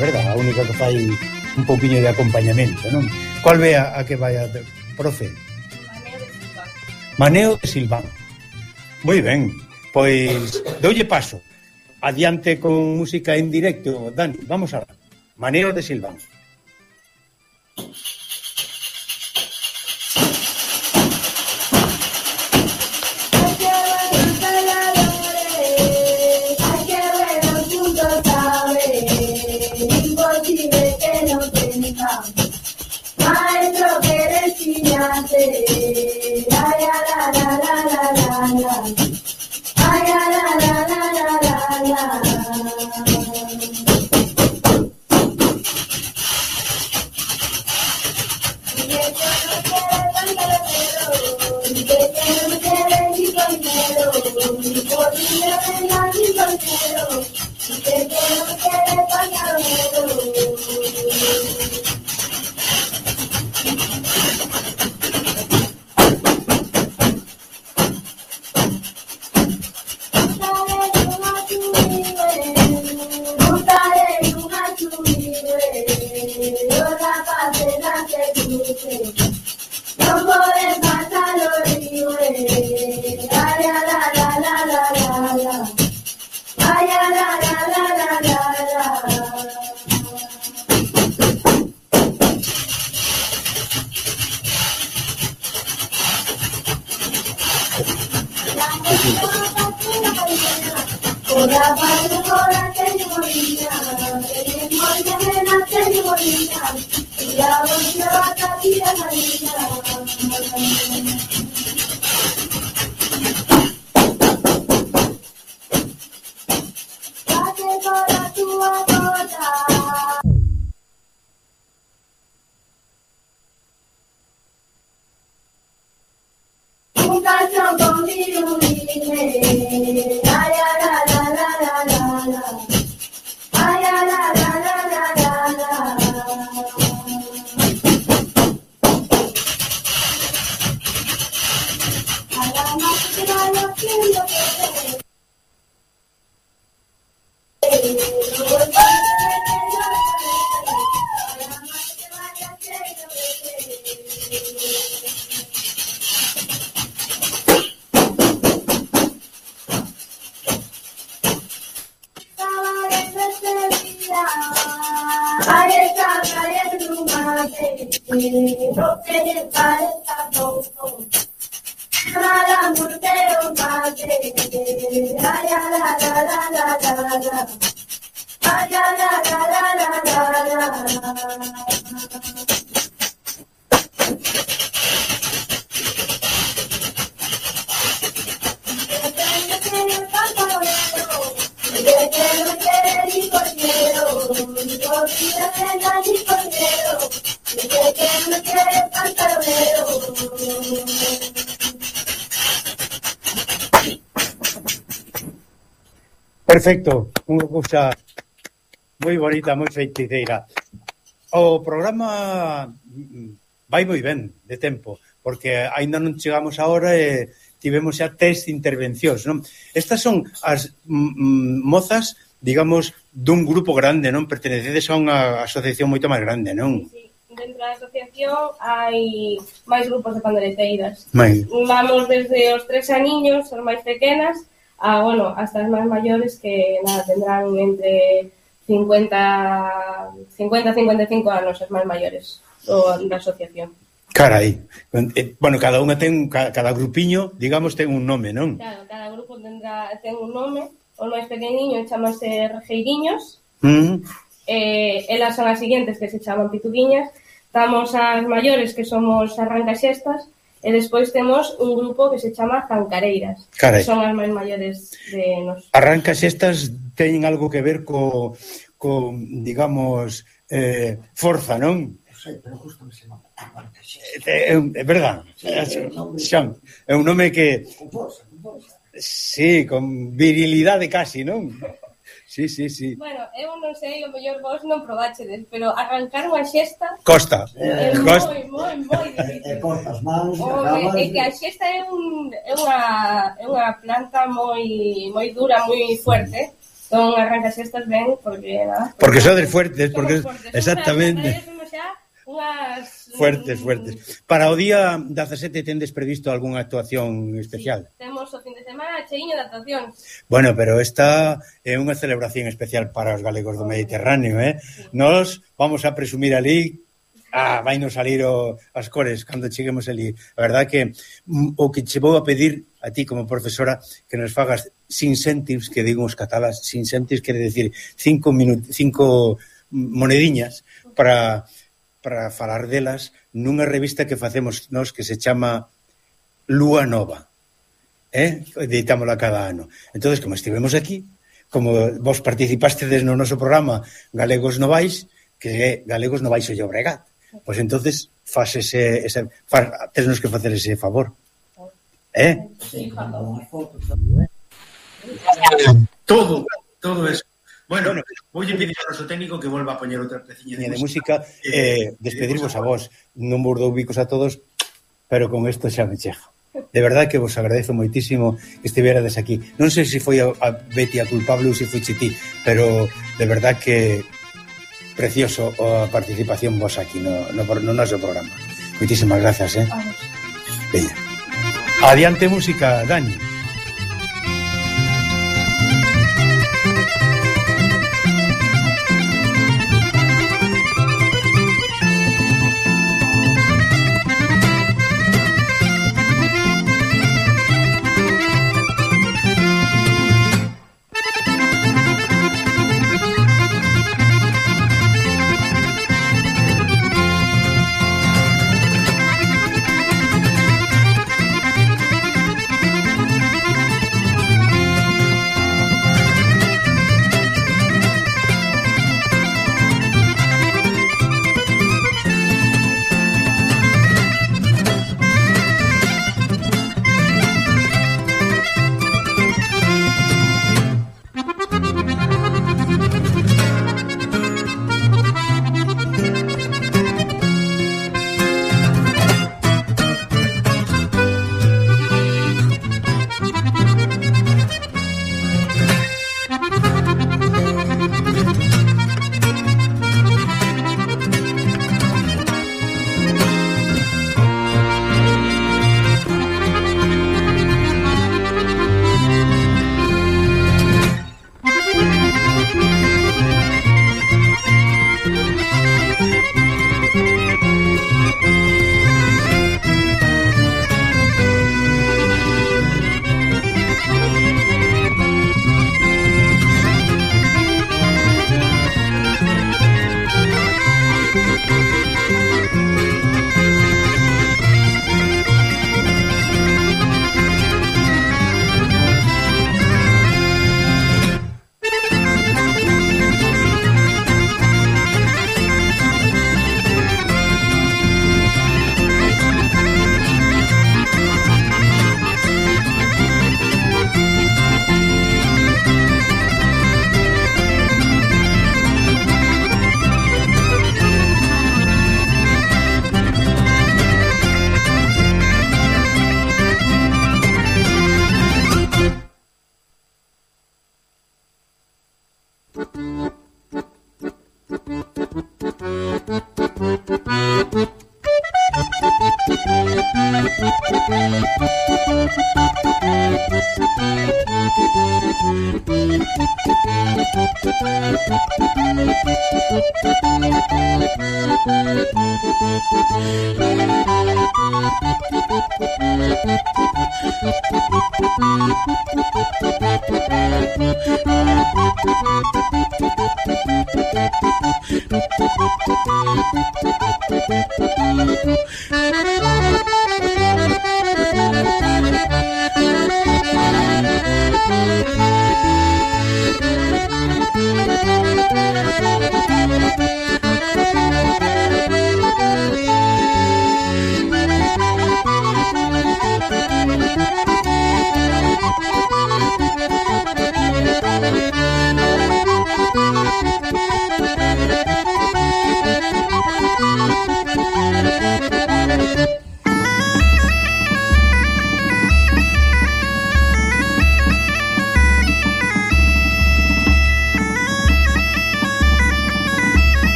Verdad, a única que fai un pouquiño de acompañamento, non? Cual ve a, a que vai a profe? Maneo de Silván. Moi ben, pois doulle paso. Adiante con música en directo, Dani, vamos a ver. Maneo de Silván. Imposible que no tenga súa cota. Un calzón con virulines, ay, la, la, la, la, la, la, la. Ay, la, la, la, la, la, la, la. A la más que vaya haciendo que ahí está cayendo un mate, no tiene paleta poco, para mortero mate, ay, la, la, la, la, la, la, ay, la, la, la, la, la, la, la. Perfecto, unha cousa moi bonita, moi feiticeira. O programa vai moi ben de tempo, porque aínda non chegamos a hora e tivemos xa tres intervencións, non? Estas son as mm, mozas, digamos, dun grupo grande, non? Pertenecedes a unha asociación moito máis grande, non? Sí, dentro da asociación hai máis grupos de pandereteiras. Mai. Vamos desde os tres aniños, as máis pequenas, a, bueno, hasta as máis maiores que, nada, tendrán entre cincuenta, cincuenta, cincuenta e cinco anos, as máis maiores do, da asociación. Carai. Bueno, cada unha ten, cada grupiño, digamos, ten un nome, non? Claro, cada grupo tendrá, ten un nome. O máis pequeniño chamase Rejeiriños. Mm. Eh, elas son as seguintes que se chaman Pituguiñas. Estamos as maiores que somos Arrancaxestas. E despois temos un grupo que se chama Zancareiras. Carai. Que son as máis maiores de nos. Arrancaxestas teñen algo que ver co, co digamos, eh, forza, non? sei, pero justo me se nota Arrancaxestas. É, é verdad. Sí, é un nome, Xan, é un nome que... con forza, con forza. Sí, con virilidade casi, non? Sí, sí, sí. Bueno, eu non sei, o mellor vos non probachedes, pero arrancar unha xesta Costa. é Costa. moi, moi, moi E difícil. cortas mans, e O, acabas... é que a xesta é, un, é, unha, é unha planta moi moi dura, moi fuerte. Son arrancaxestas ben, porque nada. Porque sodes fuertes, porque somos fuertes. exactamente. Somos xa unhas... Fuertes, fuertes. Para o día dezasete tendes previsto algunha actuación especial? Sí, temos o fin de semana cheiño de actuacións. Bueno, pero esta é unha celebración especial para os galegos do Mediterráneo, eh? Sí. Nos vamos a presumir ali, ah, vai nos salir o, as cores cando cheguemos ali. A verdad que mm, o que che vou a pedir a ti como profesora que nos fagas sin céntimos, que digo os catalás, sin céntimos quere decir cinco minutos, cinco monediñas para para falar delas nunha revista que facemos nós que se chama Lúa Nova, eh? Editámola cada ano. Entonces, como estivemos aquí, como vos participastedes no noso programa Galegos Novais, que é Galegos Novais o Llobregat, pois entonces faz ese, ese faz, tesnos que facer ese favor, eh? Todo, todo eso. Bueno, bueno, voulle pedir ao noso técnico que volva a poñer outra peciña de, de música, eh, despedirvos a vos. Non vos dou bicos a todos, pero con isto xa me chega. De verdad que vos agradezo moitísimo que estiverades aquí. Non sei se foi a, a Betty a culpable ou se foi Chití, pero de verdad que precioso a participación vos aquí no, no, no noso programa. Moitísimas gracias, eh? Veña. Adiante música, Dani.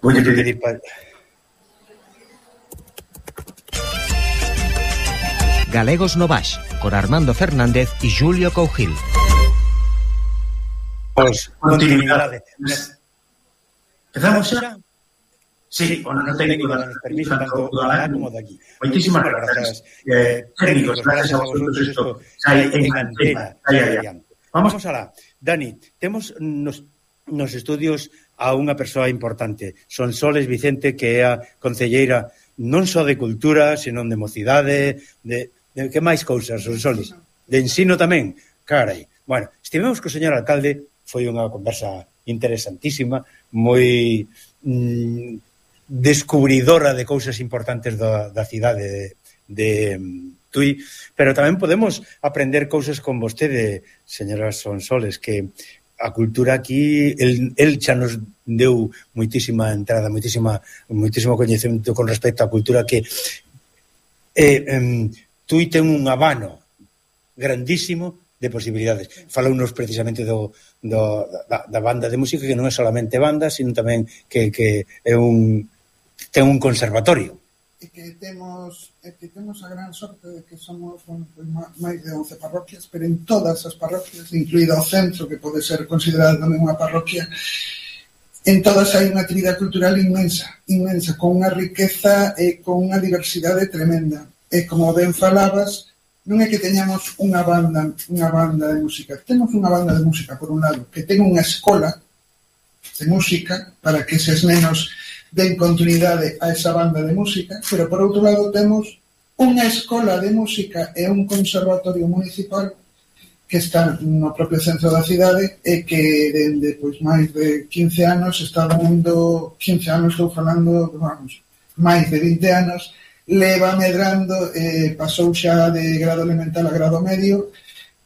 Voy a pedir para... Galegos no Baix, con Armando Fernández y Julio Cougil. Pues, continuidade. Empezamos xa? Sí, o non técnico das permiso tanto do alá como de aquí. Moitísimas grazas. Eh, técnicos, gracias a vosotros isto sai en antena. Vamos alá. Dani, temos nos, nos estudios a unha persoa importante. Sonsoles Vicente, que é a concelleira non só de cultura, senón de mocidade, de, de que máis cousas, Sonsoles? De ensino tamén. Carai. Bueno, estivemos co señor alcalde, foi unha conversa interesantísima, moi mm, descubridora de cousas importantes da, da cidade de, de Tui, pero tamén podemos aprender cousas con vostede, señora Sonsoles, que a cultura aquí, el, el xa nos deu moitísima entrada, moitísima, moitísimo coñecemento con respecto á cultura que eh, eh, Tui ten un abano grandísimo de posibilidades. Falounos precisamente do, do, da, da banda de música, que non é solamente banda, sino tamén que, que é un ten un conservatorio. e que temos e que temos a gran sorte de que somos bueno, pues, máis de once parroquias, pero en todas as parroquias, incluído o centro, que pode ser considerado tamén unha parroquia, en todas hai unha actividade cultural inmensa, inmensa, con unha riqueza e con unha diversidade tremenda. E como ben falabas, non é que teñamos unha banda, unha banda de música, temos unha banda de música, por un lado, que ten unha escola de música para que eses nenos den continuidade a esa banda de música, pero por outro lado temos unha escola de música e un conservatorio municipal que está no propio centro da cidade e que dende pois máis de quince anos está dando, quince anos estou falando, vamos, máis de vinte anos, leva medrando, eh, pasou xa de grado elemental a grado medio,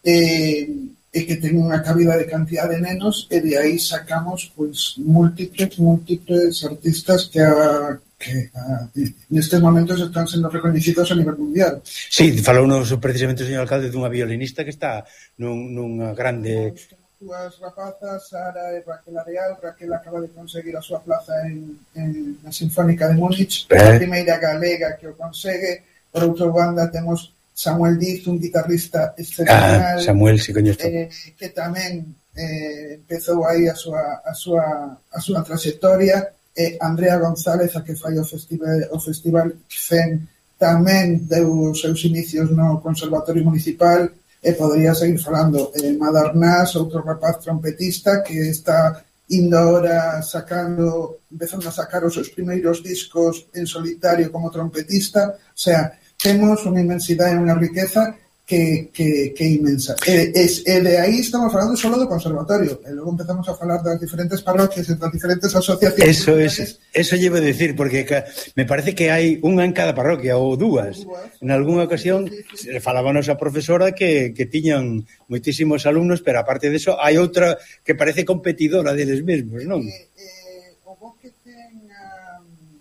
e eh, e que ten unha cabida de cantidad de nenos e de aí sacamos pois múltiples, múltiples artistas que, a, que a, nestes momentos están sendo reconhecidos a nivel mundial. Sí, falounos precisamente o señor alcalde dunha violinista que está nun, nunha grande... Dúas rapazas, Sara e Raquel Areal. Raquel acaba de conseguir a súa plaza en, en na Sinfónica de Múnich, eh. a primeira galega que o consegue. Por outra banda temos Samuel Diz, un guitarrista excepcional, ah, Samuel, si coñezo. Eh, que tamén eh, empezou aí a súa, a súa, a súa trayectoria. Eh, Andrea González, a que fai o festival, o festival C E N, tamén deu os seus inicios no Conservatorio Municipal, e podría seguir falando. Eh, Madarnás, outro rapaz trompetista que está indo ahora sacando, empezando a sacar os seus primeiros discos en solitario como trompetista. O sea, temos unha inmensidade e unha riqueza que, que, que é inmensa. E, e, e de aí estamos falando solo do conservatorio. E logo empezamos a falar das diferentes parroquias e das diferentes asociacións. Eso, es, eso llevo a decir, porque me parece que hai unha en cada parroquia, ou dúas. En algunha ocasión falábanos a profesora que, que tiñan moitísimos alumnos, pero aparte de eso hai outra que parece competidora deles mesmos, non? Eh, eh, o bo que ten... Um,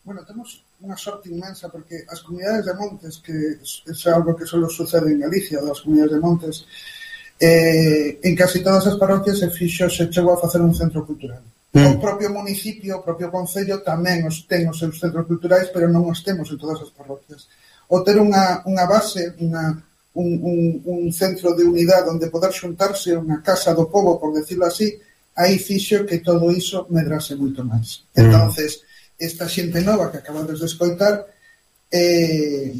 bueno, temos unha sorte inmensa, porque as comunidades de montes, que é algo que solo sucede en Galicia, das comunidades de montes, eh, en casi todas as parroquias se fixo, se chegou a facer un centro cultural. Mm. O propio municipio, o propio concello tamén os ten os seus centros culturais, pero non os temos en todas as parroquias. O ter unha, unha base, unha, un, un, un centro de unidade onde poder xuntarse, unha casa do pobo, por decirlo así, aí fixo que todo iso medrase moito máis. Mm. Entonces, esta xente nova que acabades de escoitar eh,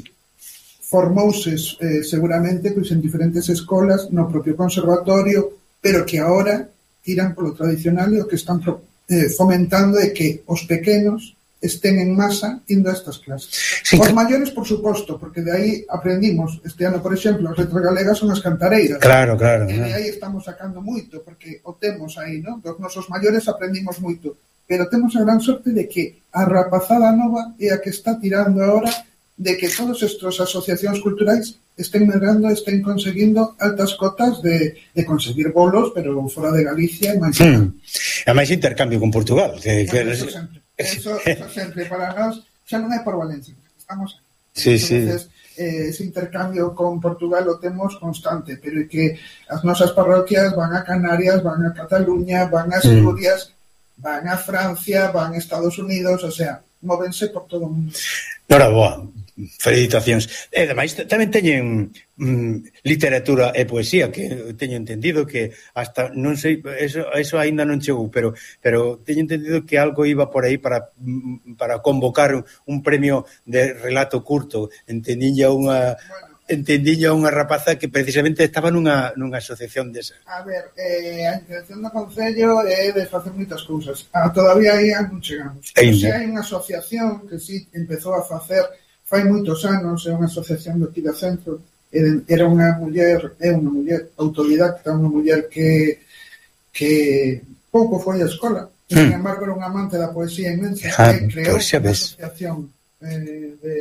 formouse eh, seguramente pois, en diferentes escolas no propio conservatorio, pero que agora tiran polo tradicional e o que están eh, fomentando é que os pequenos estén en masa indo a estas clases. Sí, os que... maiores, por suposto, porque de aí aprendimos, este ano, por exemplo, as letras galegas son as cantareiras. Claro, claro. E de aí estamos sacando moito, porque o temos aí, non? Dos nosos maiores aprendimos moito. Pero temos a gran sorte de que a rapazada nova é a que está tirando agora de que todos estes asociacións culturais estén medrando, estén conseguindo altas cotas de, de conseguir bolos, pero fora de Galicia e máis. Hmm. E máis intercambio con Portugal. Que, que... Eso sempre. Eso, eso sempre. Para nós xa non é por Valencia, estamos aquí. Sí, Entonces, sí. Eh, ese intercambio con Portugal o temos constante, pero é que as nosas parroquias van a Canarias, van a Cataluña, van a Asturias, hmm. van a Francia, van a Estados Unidos, o sea, móvense por todo o mundo. Nora, boa, felicitacións. E ademais tamén teñen mm, literatura e poesía, que teño entendido que hasta, non sei, eso, eso ainda non chegou, pero pero teño entendido que algo iba por aí para para convocar un premio de relato curto. Entendinlle unha... Bueno, entendinlle a unha rapaza que precisamente estaba nunha, nunha asociación desa. A ver, eh, a intención do Concello é de facer moitas cousas. Ah, todavía aí non chegamos. Pero se hai unha asociación que si empezou a facer fai moitos anos, é unha asociación do Tira Centro, era unha muller, é unha muller autodidacta, unha muller que que pouco foi a escola, mm. sin embargo era unha amante da poesía inmensa, ah, que creou unha asociación Eh, de,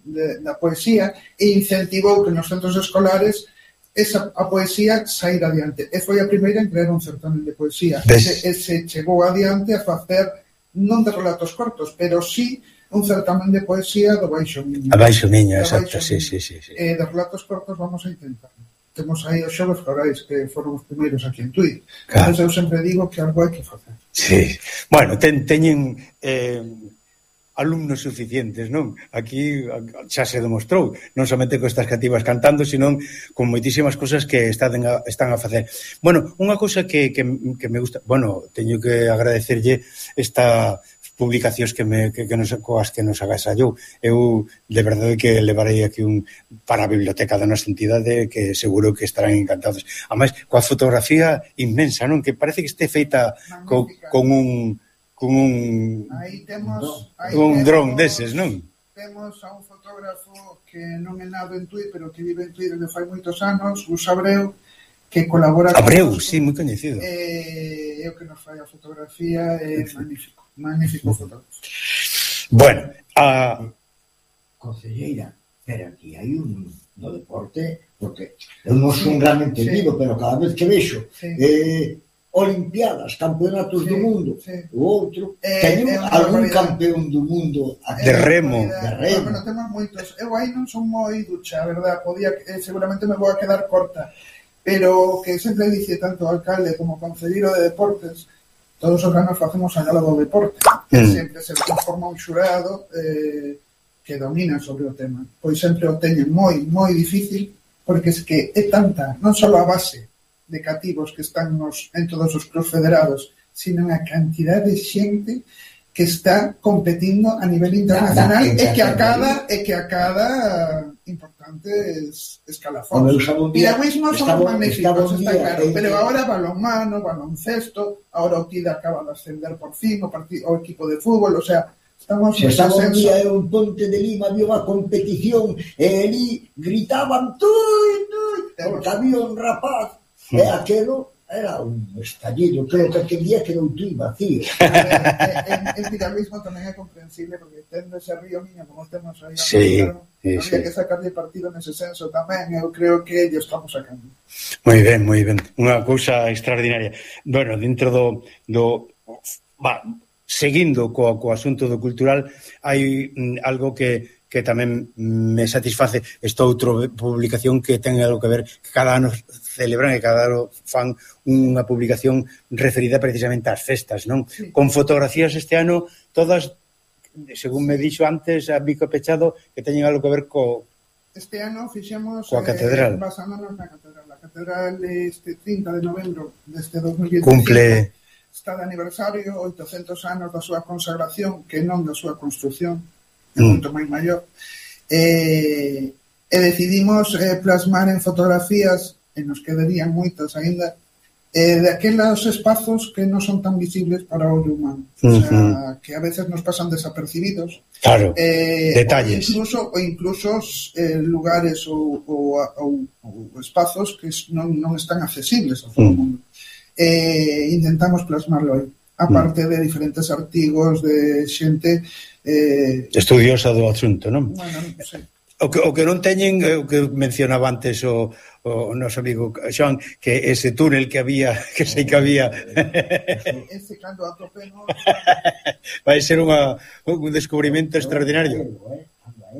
de, da poesía e incentivou que nos centros escolares esa, a poesía saíra adiante. E foi a primeira en crear un certamen de poesía. E se, e se chegou adiante a facer non de relatos cortos, pero sí un certamen de poesía do Baixo Miño. A Baixo Miño, exacto, sí, sí, sí, sí. E de relatos cortos vamos a intentar. Temos aí os xogos florais que foron os primeiros aquí en Tui. Claro. Entón eu sempre digo que algo hai que facer. Sí. Bueno, ten, teñen... Eh... alumnos suficientes, non? Aquí xa se demostrou, non somente co estas cativas cantando, senón con moitísimas cosas que están a, están a facer. Bueno, unha cousa que, que, que me gusta, bueno, teño que agradecerlle esta publicacións que me que, que nos coas que nos agasallou. Eu de verdade que levarei aquí un para a biblioteca da nosa entidade que seguro que estarán encantados. Ademais, coa fotografía inmensa, non? Que parece que este feita co, con un con un aí temos aí un temos, dron deses, non? Temos a un fotógrafo que non é nado en Tui, pero que vive en Tui desde fai moitos anos, Gus Abreu, que colabora Abreu, con sí, moi coñecido. Eh, eu que nos fai a fotografía, é eh, magnífico, magnífico fotógrafo. Bueno, a Concelleira, pero aquí hai un no deporte, porque eu non son un gran entendido, sí, pero cada vez que vexo sí, eh, Olimpiadas, campeonatos sí, do mundo, sí, o outro, eh, teño eh, algún campeón do mundo aquí, de remo, de remo. Bueno, temos moitos. Eu aí non son moi ducha, a verdad, podía, eh, seguramente me vou a quedar corta, pero que sempre dice tanto o alcalde como o concelleiro de deportes, todos os anos facemos a gala do deporte, que mm, sempre se conforma un xurado eh, que domina sobre o tema. Pois sempre o teñen moi, moi difícil, porque es que é tanta, non só a base de cativos que están nos, en todos os clubs federados, sino a cantidad de xente que está competindo a nivel internacional e que a cada e que a cada importantes escalafóns. Piragüismo son magníficos, está claro, pero ahora balonmano, baloncesto, ahora o Tida acaba de ascender por fin, o, partido, o equipo de fútbol, o sea, estamos se estaba un día en un Ponte de Lima, había unha competición e ali gritaban tui, tui, porque había un rapaz e aquelo era un estallido, creo que aquel día quedou tui vacío. En piragüismo tamén é comprensible, porque tendo ese río niño como temos aí, sí, claro, sí, había sí, que sacarle partido nese senso tamén, eu creo que ellos estamos sacando. Moi ben, moi ben, unha cousa extraordinaria. Bueno, dentro do, do va, seguindo co, co asunto do cultural, hai mm, algo que que tamén me satisface, esta outra publicación que ten algo que ver, que cada ano celebran e cada ano fan unha publicación referida precisamente ás festas, non? Sí. Con fotografías este ano, todas, según me dixo antes, a bico pechado, que teñen algo que ver co... Este ano fixemos... Coa catedral. Eh, basándonos na catedral. A catedral este trinta de novembro deste dos mil veinticinco cumple... está de aniversario, oitocentos anos da súa consagración, que non da súa construcción, é moito máis maior, e, e decidimos eh, plasmar en fotografías, e nos quedarían moitas aínda, eh, de aqueles espazos que non son tan visibles para o ollo humano, uh-huh, o sea, que a veces nos pasan desapercibidos, claro, eh, detalles, ou incluso, ou incluso eh, lugares ou, ou, ou, ou espazos que non, non están accesibles a todo o uh-huh, mundo. Eh, intentamos plasmarlo aí, aparte de diferentes artigos de xente eh, estudiosa do asunto, non? Bueno, non sei. O que, o que non teñen, o que mencionaba antes o, o noso amigo Xoan, que ese túnel que había, que sei que había ese cando atopemos vai ser unha, un descubrimento extraordinario. Anda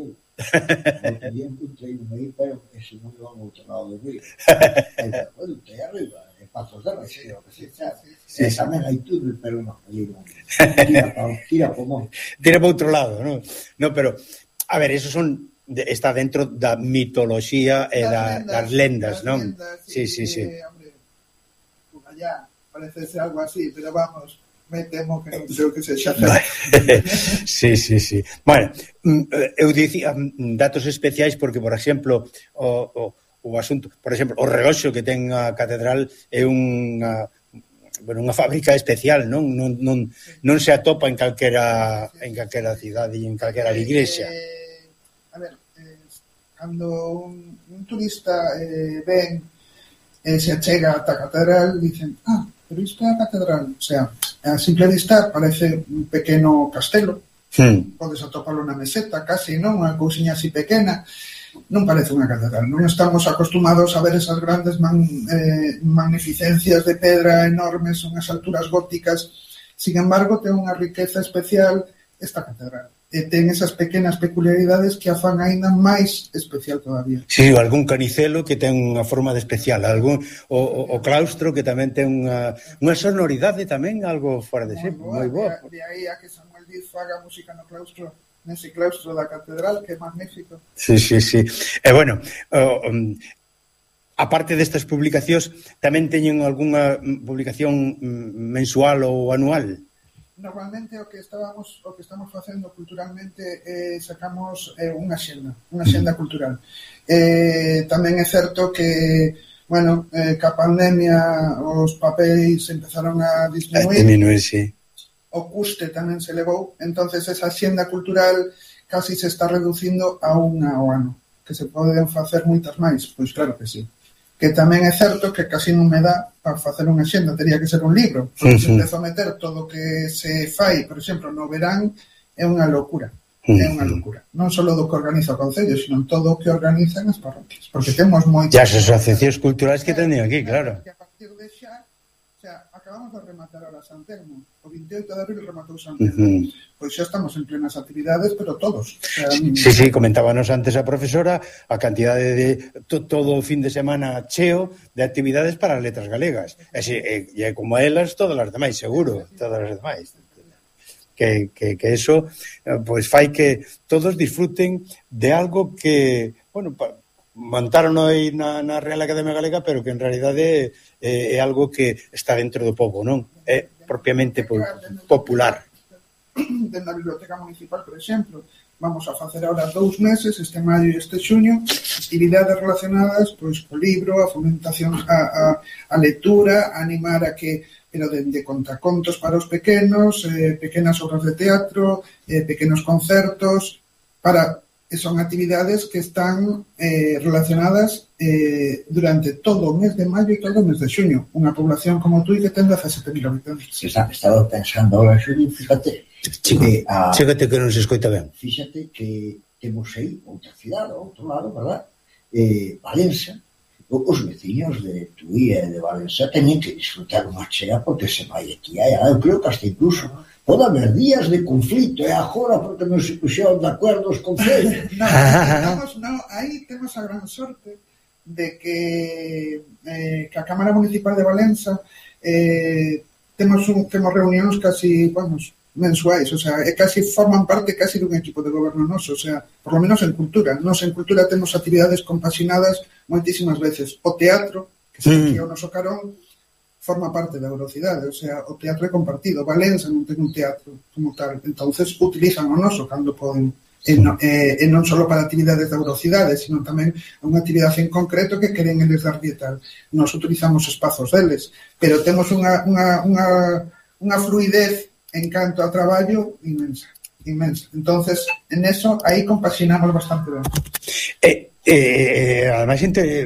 eu encontrei un aí, pero ese non é ao outro lado do río, bueno, que arriba Pasos de Rexeo, que se sabe. Sí, sí, tamén hai túnel, pero non, non. Tira para tira para monte. Tira para outro lado, non? No, pero a ver, eso son de, está dentro da mitoloxía e da, das lendas, non? Sí, sí, sí. Hombre, por allá parece ser algo así, pero vamos, me temo que non creo que se xa. Sí, sí, sí. Bueno, eu dicía datos especiais porque, por exemplo, o, o o asunto, por exemplo, o reloxo que ten a catedral é unha bueno, unha fábrica especial, non non non non se atopa en calquera en calquera cidade e en calquera igrexa. Eh, a ver, eh, cando un, un turista eh, ven e eh, se achega ata a catedral, dicen, ah, pero isto é a catedral, o sea, a simple vista parece un pequeno castelo, hmm. podes atopalo na meseta, casi, non? Unha cousiña así pequena. Non parece unha catedral, non estamos acostumados a ver esas grandes man, eh, magnificencias de pedra enormes, unhas alturas góticas. Sin embargo, ten unha riqueza especial esta catedral. E ten esas pequenas peculiaridades que a fan aínda máis especial todavía. Sí, algún canicelo que ten unha forma de especial, algún o, o, o claustro que tamén ten unha, unha sonoridade tamén algo fora de ser, moi boa. De aí a que Samuel aprendiz faga música no claustro, nese claustro da catedral, que é magnífico. Sí, sí, sí. E, bueno, uh, um, aparte destas publicacións, tamén teñen algunha publicación mensual ou anual? Normalmente o que estábamos o que estamos facendo culturalmente eh, sacamos eh, unha xenda, unha xenda cultural. Eh, tamén é certo que bueno, eh, ca pandemia os papéis empezaron a disminuir, a disminuir, sí. O custe tamén se elevou, entonces esa xenda cultural casi se está reducindo a unha ao ano, que se poden facer moitas máis, pois claro que sí. Que tamén é certo que casi non me dá para facer unha xenda, teria que ser un libro, porque se empezo a meter todo o que se fai, por exemplo, no verán, é unha locura. É unha locura. Non só do que organiza o Concello, sino todo o que organizan as parroquias. Porque temos moitas... E as asociacións culturais que teñen aquí, claro. Que a partir de xa, o sea, acabamos de rematar ahora San Telmo. O veinte e oito de abril rematou San Telmo. Uh -huh. Pois xa estamos en plenas actividades, pero todos. O sea, sí, sí, comentábanos antes a profesora a cantidade de to, todo o fin de semana cheo de actividades para as letras galegas. E, e, e como elas, todas as demais, seguro. Todas as demais. Que, que, que eso pues fai que todos disfruten de algo que, bueno, pa, montaron aí na, na Real Academia Galega, pero que en realidade é, é algo que está dentro do povo, non? É propiamente po, popular. Dentro da Biblioteca Municipal, por exemplo, vamos a facer ahora dous meses, este maio e este xuño, actividades relacionadas pois co libro, a fomentación a, a, a lectura, a animar a que pero de, de contacontos para os pequenos, eh, pequenas obras de teatro, eh, pequenos concertos, para son actividades que están eh, relacionadas eh, durante todo o mes de maio e todo o mes de xuño. Unha población como tú que ten dezasete mil habitantes. Se está, estaba pensando ahora, Xulio, fíjate. Que, a, fíjate que non se escoita ben. Fíxate que temos aí outra cidade, outro lado, verdad? Eh, Valença. Os veciños de Tui e de Valença teñen que disfrutar unha chea porque se vai aquí. Eu creo que hasta incluso pode haber días de conflito e agora porque non se puxeron de acordo os concellos. No, estamos, no, aí temos a gran sorte de que, eh, que a Cámara Municipal de Valença eh, temos, un, temos reunións casi, vamos, mensuais, o sea, e casi forman parte casi dun equipo de goberno noso, o sea, por lo menos en cultura. Nos en cultura temos actividades compaxinadas moitísimas veces. O teatro, que se aquí o noso carón, forma parte da Eurocidade, o sea, o teatro é compartido. Valença non ten un teatro como tal, entonces utilizan o noso cando poden. E non, e, e non só para actividades da Eurocidade, sino tamén unha actividade en concreto que queren eles dar e tal. Nos utilizamos espazos deles, pero temos unha, unha, unha, unha fluidez en canto a traballo inmensa, inmensa. Entonces, en eso, aí compaxinamos bastante ben. Eh, eh, ademais, entre,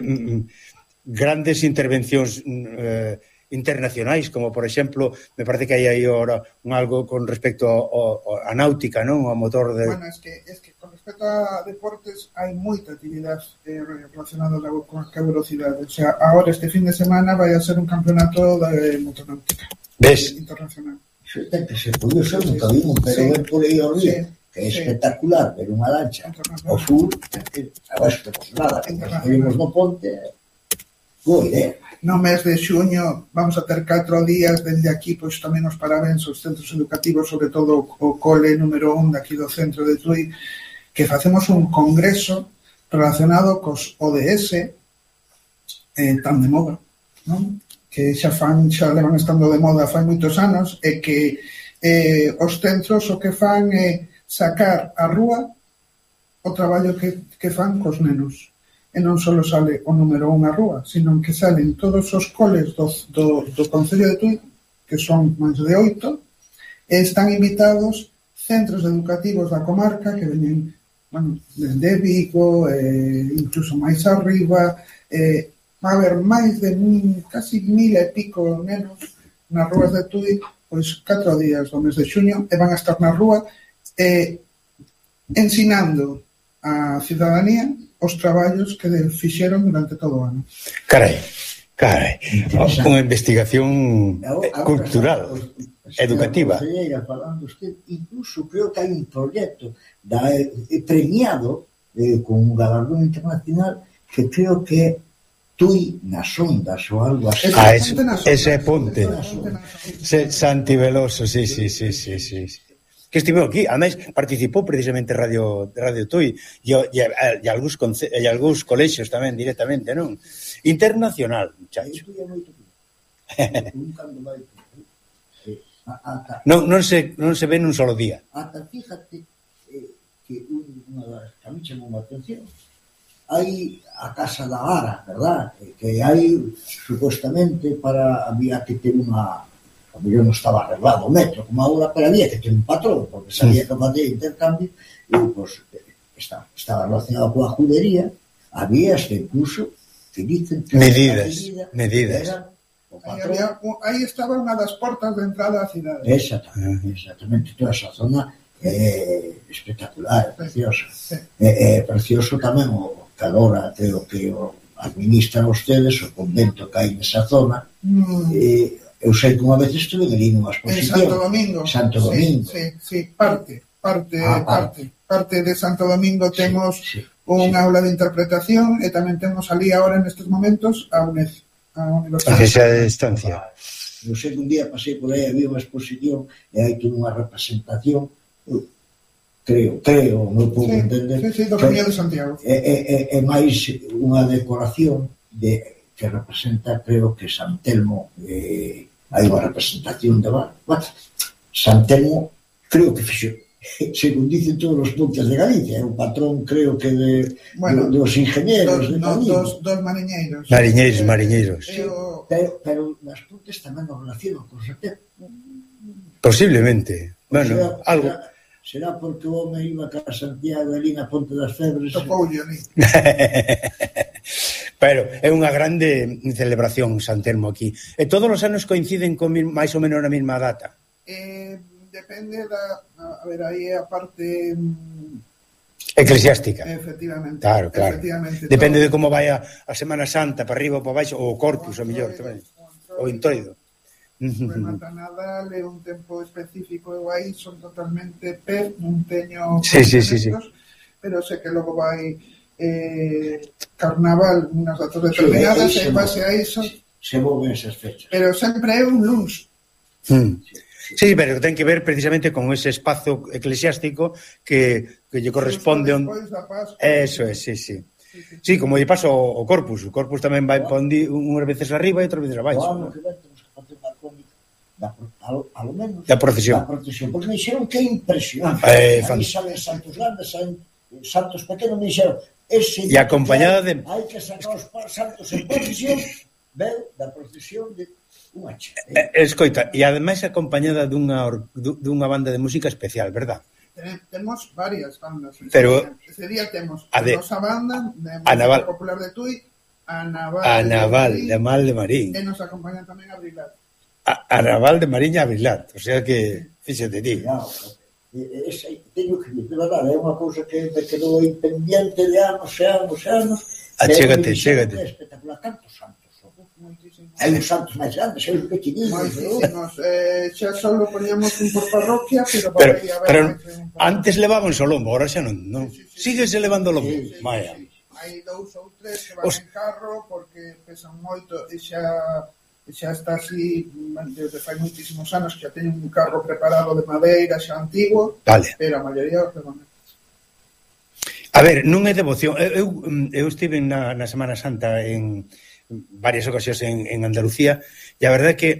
grandes intervencións eh, internacionais, como, por exemplo, me parece que hai aí ahora un algo con respecto a náutica, non? Ao motor de... Bueno, es que, es que con respecto a deportes hai moita actividade eh, relacionada con a velocidade. O sea, ahora este fin de semana vai a ser un campeonato de motonáutica. ¿Ves? Internacional. Eso ten que ser curioso, nunca vimos, pero sí, ver por aí ao río, sí, que é sí, espectacular, ver unha lancha ao sur, agora espectacular, nos vimos no ponte, boa idea. No mes de xuño vamos a ter catro días dende aquí, pois tamén os parabéns aos centros educativos, sobre todo o cole número un daqui do centro de Tui, que facemos un congreso relacionado cos O D S eh, tan de moda, non? Que xa fan, xa levan estando de moda fai moitos anos, e que eh, os centros o que fan é sacar a rúa o traballo que, que fan cos nenos. E non só sale o número un a rúa, sino que salen todos os coles do, do, do Concello de Tui, que son máis de oito, e están invitados centros educativos da comarca que veñen, bueno, de Vigo, eh, incluso máis arriba, eh, va a haber máis de mil, casi mil e pico nenos nas rúas de Tui, pois catro días do mes de xuño, e van a estar na rúa eh, ensinando a cidadanía os traballos que fixeron durante todo o ano. Carai, carai, unha investigación cultural, educativa. Falando usted, incluso creo que hai un proxecto da, eh, premiado eh, con un galardón internacional que creo que Tui nas ondas ou algo así. Ah, ese, ese ponte. Santi Veloso, sí, sí, sí, sí, sí. que estiveu aquí, ademais participou precisamente Radio Radio Tui e, e, e, algúns, conce, e algúns colexios tamén directamente, non? Internacional, muchacho. non, non, se, non se ve nun solo día. Ata fíjate eh, que unha das que a mí chamou a atención, hai a Casa da Ara, verdad? Que hai supostamente para había que ter unha, a mellor non estaba arreglado o metro como agora, pero había que ter un patrón, porque sabía que fazer intercambio e pues, estaba, estaba relacionado coa judería, había hasta incluso que dicen que medidas, medidas. Aí, había, aí estaba unha das portas de entrada á cidade. Exactamente, exactamente, toda esa zona é espectacular, é preciosa. É, é precioso tamén o que agora creo que o administran ustedes, o convento que hai nesa zona. Mm. E, eu sei que unha vez estuve ali nunha exposición. En Santo Domingo. Santo Domingo. Sí, sí, sí, parte, parte, ah, parte. Parte de Santo Domingo temos sí, sí, un sí. aula de interpretación e tamén temos ali agora nestes momentos a UNED. A Universidade de Estancia. Eu sei que un día pasei por aí, había unha exposición e hai toda unha representación, creo, creo, non podo sí, entender. Sí, sí, do Camiño de Santiago. É, é, é máis unha decoración de, que representa, creo que San Telmo, eh, hai unha representación de bar. Bueno, San Telmo, creo que fixo, según dicen todos os puntos de Galicia, é un patrón, creo que de, bueno, de, dos ingenieros, dos, de no, dos, dos mariñeiros. Mariñeiros, mariñeiros. Sí, pero, pero nas puntas tamén nos relacionan con San Telmo. Posiblemente. Bueno, será, algo... Será, será porque o home iba a Santiago ali na Ponte das Febres. Topoulle ali. Pero é unha grande celebración San Telmo aquí. E todos os anos coinciden con máis ou menos na mesma data? Eh... Depende da... A ver, aí é a parte... Eclesiástica. Efectivamente. Claro, claro. Efectivamente, depende todo. de como vai a, a Semana Santa, para arriba ou para baixo, ou o Corpus, o mellor tamén. O Introido. Remata Nadal é un tempo específico, eu aí son totalmente pez, non teño... Sí, sí, sí, sí. Pero sei que logo vai eh, Carnaval, unhas datas determinadas, sí, e base a iso... Se moven esas fechas. Pero sempre é un luns. Mm. Sí, pero ten que ver precisamente con ese espazo eclesiástico que, que lle corresponde on... Eso é, sí, sí. Sí, como lle pasa o, o Corpus. O Corpus tamén vai pondi unhas veces arriba e outras veces abaixo. Claro, que vai, temos que facer unha crónica da, a lo menos da procesión. Da procesión, porque me dixeron que é impresionante. Eh, Aí salen santos grandes, salen santos pequenos, me dixeron ese e acompañada de... Hai que sacar os santos en procesión, veu da procesión de... Unha che, eh? Escoita, e ademais acompañada dunha, dunha banda de música especial, verdad? Temos varias bandas. Pero ese día temos a de, nosa banda de música Naval, popular de Tui, a Naval, a Naval de, de Mal de Marín. E nos acompañan tamén a Brilat. A, a Naval de Marín e a Brilat, o sea que fíxate ti. Claro, ese, teño que dir, de verdade, é unha cousa que me quedou aí pendiente de anos e anos e anos. Achégate, chégate. É espectacular, tantos santos. Hai uns santos máis grandes, hai uns pequeninos. Moitísimos. Eh, xa solo poníamos un por parroquia, pero, pero, aí, a ver, pero antes levaban o lombo, ahora xa non, non. Sí, sí, síguese sí, levando o lombo. Sí, sí, Vaya. Sí, sí. Hai dous ou tres que van Os... en carro porque pesan moito e xa xa está así desde fai moitísimos anos que xa teñen un carro preparado de madeira xa antigo, vale. Pero a maioría os levan. A ver, non é devoción. Eu, eu estive na, na Semana Santa en varias ocasións en, en Andalucía e a verdade é que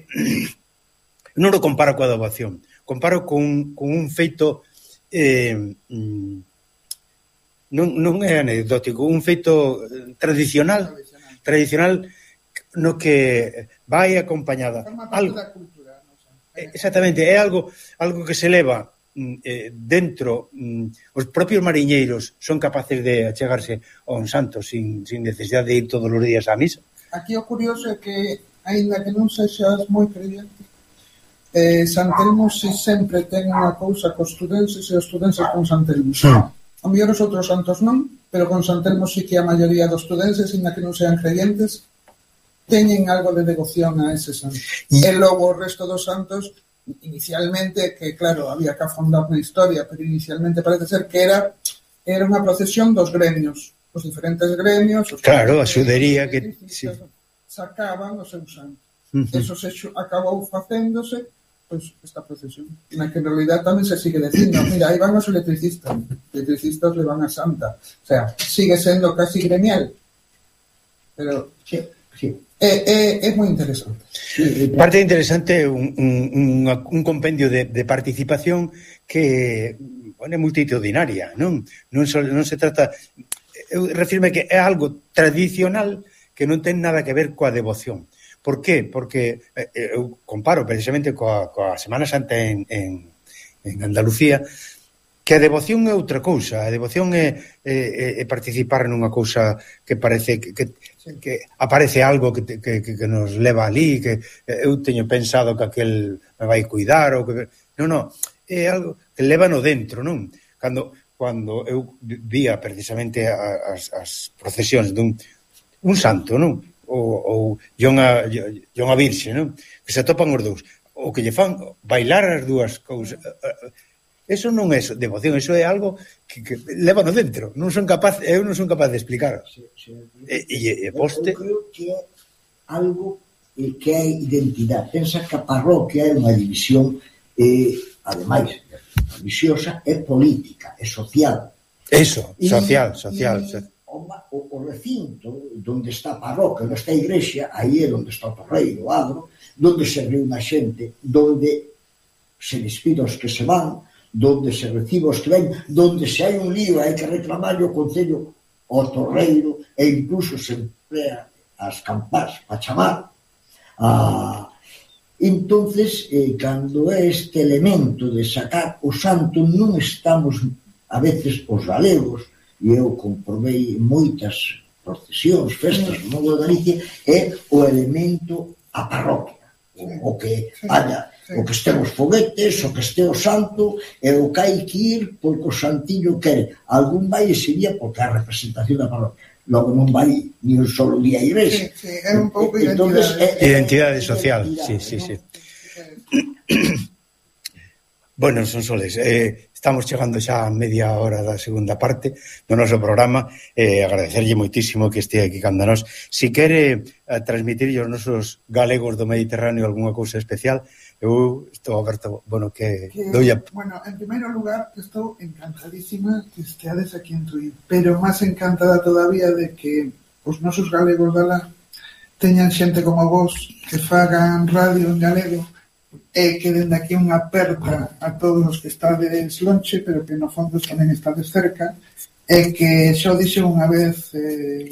non o comparo coa devoción, comparo con, con un feito eh, non, non é anecdótico, un feito tradicional tradicional no que vai acompañada algo, cultura, no sé. Exactamente, é algo algo que se leva eh, dentro mm, os propios mariñeiros son capaces de achegarse a un santo sin, sin necesidade de ir todos os días á misa. Aquí o curioso é que, aínda que non sexas moi creyente, eh, San Telmo si sempre ten unha cousa cos estudenses e os estudenses con San Telmo. Sí. A mellor os outros santos non, pero con San Telmo sí que a maioría dos estudenses, aínda que non sean creyentes, teñen algo de devoción a ese santo. E, e logo o resto dos santos, inicialmente, que claro, había que afondar na historia, pero inicialmente parece ser que era era unha procesión dos gremios. Os diferentes gremios, os claro, a xudería que sí. sacaban o seu santo. Uh -huh. Eso se acabou facéndose pues esta procesión, na que en realidad tamén se sigue dicindo, mira, aí van os electricistas, electricistas le van a Santa, o sea, sigue sendo casi gremial, pero sí, sí. É, é, é moi interesante. Parte interesante un, un, un compendio de, de participación que bueno, é multitudinaria, non? Non, so, non se trata... Eu refirme que é algo tradicional que non ten nada que ver coa devoción. Por qué? Porque eh, eu comparo precisamente coa, coa Semana Santa en, en, en Andalucía, que a devoción é outra cousa. A devoción é, é, é participar nunha cousa que parece que, que, que aparece algo que, que, que nos leva ali, que eu teño pensado que aquel me vai cuidar ou que... Non, non, é algo que leva no dentro, non? Cando, cando eu vía precisamente as, as procesións dun un santo, non? Ou, ou unha, unha virxe, non? Que se topan os dous. O que lle fan bailar as dúas cousas... Eso non é devoción, eso é algo que, que leva no dentro. Non son capaz, eu non son capaz de explicar. Sí, sí. E, e, e poste... Eu creo que é algo eh, que é identidade. Pensa que a parroquia é unha división, eh, ademais, religiosa, é política, é social. Eso, social, e, social. E, o, o recinto onde está a parroquia, onde está a igrexa, aí é onde está o torreiro, o agro, onde se reúne a xente, onde se despide os que se van, donde se recibe os que ven, donde se hai un lío hai que reclamar o concello ao torreiro e incluso se emplea as campás para chamar a... entonces eh, cando é este elemento de sacar o santo non estamos a veces os galegos, e eu comprobei moitas procesións, festas no Novo de Galicia, é o elemento a parroquia, o, o que vaya, o que estén os foguetes, o que este o santo, e o que hai que ir porque o santillo quere. Algún vai ese día porque é a representación da parroquia. Logo non vai ni un solo día a igrexa. Sí, sí, é un pouco identidade. É, é, identidade social, sí, sí, sí. Bueno, son soles, eh, estamos chegando xa a media hora da segunda parte do noso programa, eh, agradecerlle moitísimo que este aquí cando nós. Si quere eh, transmitir aos nosos galegos do Mediterráneo algunha cousa especial, eu estou aberto, bueno, que, que doy a... Bueno, en primeiro lugar, estou encantadísima que esteades aquí en Tui, pero máis encantada todavía de que os nosos galegos dala teñan xente como vos que fagan radio en galego, e que dende aquí unha aperta a todos os que estades lonxe, pero que no fondo tamén estades cerca, e que xo dixo unha vez eh,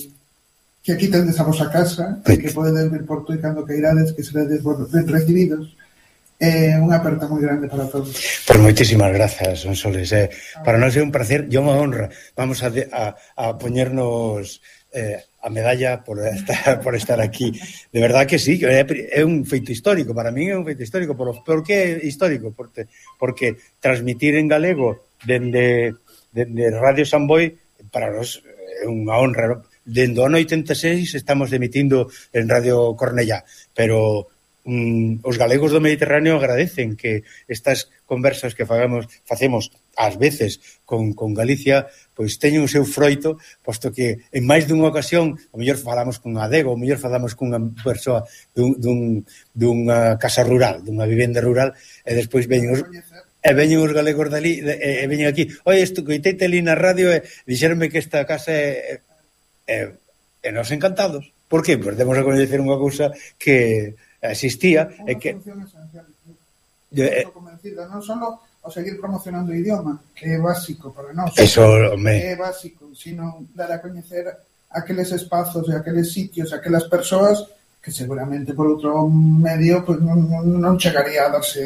que aquí tendes a vosa casa, e que podedes vir por Tui cando queirades, que seredes ben recibidos. É eh, unha aperta moi grande para todos. Pois moitísimas grazas, Sonsoles. Eh, para nós é un placer e unha honra. Vamos a, de, a, a poñernos eh, a medalla por estar, por estar aquí. De verdad que sí, que é, é un feito histórico. Para mí é un feito histórico. Por, por que é histórico? Porque, porque transmitir en galego dende, dende Radio Samboy para nós é unha honra. Dende o ano oitenta e seis estamos emitindo en Radio Cornellá, pero Mm, os galegos do Mediterráneo agradecen que estas conversas que fagamos, facemos ás veces con, con Galicia, pois teñen o seu froito, posto que en máis dunha ocasión o mellor falamos con adego, o mellor falamos cunha persoa dun, dun, dunha casa rural, dunha vivenda rural, e despois veñen os e veñen os galegos dali e, e veñen aquí, oi, isto coiteite ali na radio e dixeronme que esta casa é e, e nos encantados. Por que? Pois demos a coñecer unha cousa que existía e que función esencial. Estou convencida, non só o seguir promocionando o idioma, que é básico para nós, eso, me... é básico, sino dar a coñecer aqueles espazos e aqueles sitios, aquelas persoas que seguramente por outro medio pues, non, non chegaría a darse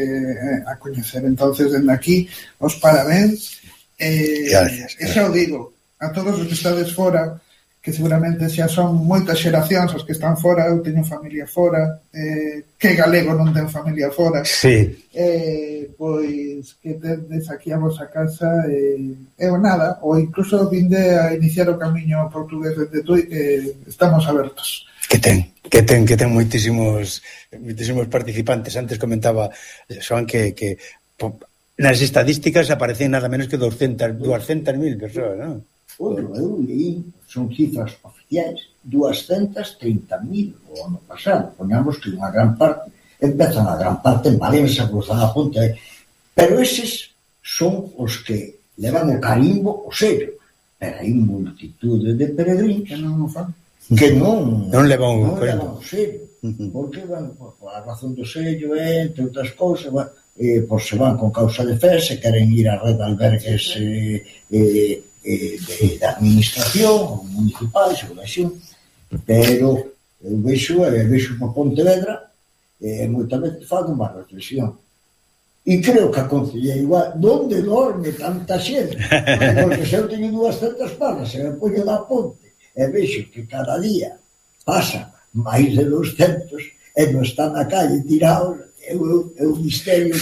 a coñecer. Entonces, dende aquí, os parabéns. Eh, gracias, gracias. E xa o digo, a todos os que estades fora, que seguramente xa son moitas xeracións os que están fora, eu teño familia fora, eh, que galego non ten familia fora, sí. eh, pois que tendes aquí a vosa casa e eh, ou nada, ou incluso vinde a iniciar o camiño portugués desde Tui, que estamos abertos. Que ten, que ten, que ten moitísimos moitísimos participantes. Antes comentaba Xoan que, que nas estadísticas aparecen nada menos que doscientas mil persoas, non? Outro, eu leí, son cifras oficiais, doscientos trinta mil o ano pasado. Poñamos que unha gran parte empezan a gran parte en Valencia, cruzan a ponte, pero eses son os que levan o carimbo, o sello, pero hai multitude de peregrinos que non o fan, que non non levan o non levan carimbo, o sello, porque, bueno, por, por a razón do sello, eh, entre outras cousas, bueno, eh, por se van con causa de fe, se queren ir a red de albergues eh, eh, eh, de, de administración municipal, según pero eu vexo, eh, vexo por Pontevedra, e eh, moitas veces fago unha reflexión. E creo que aconsellei igual, onde dorme tanta xente? Porque se eu teño duascentas palas, se me poño da ponte, e vexo que cada día pasa máis de doscentos, e non están na calle tirados, é un misterio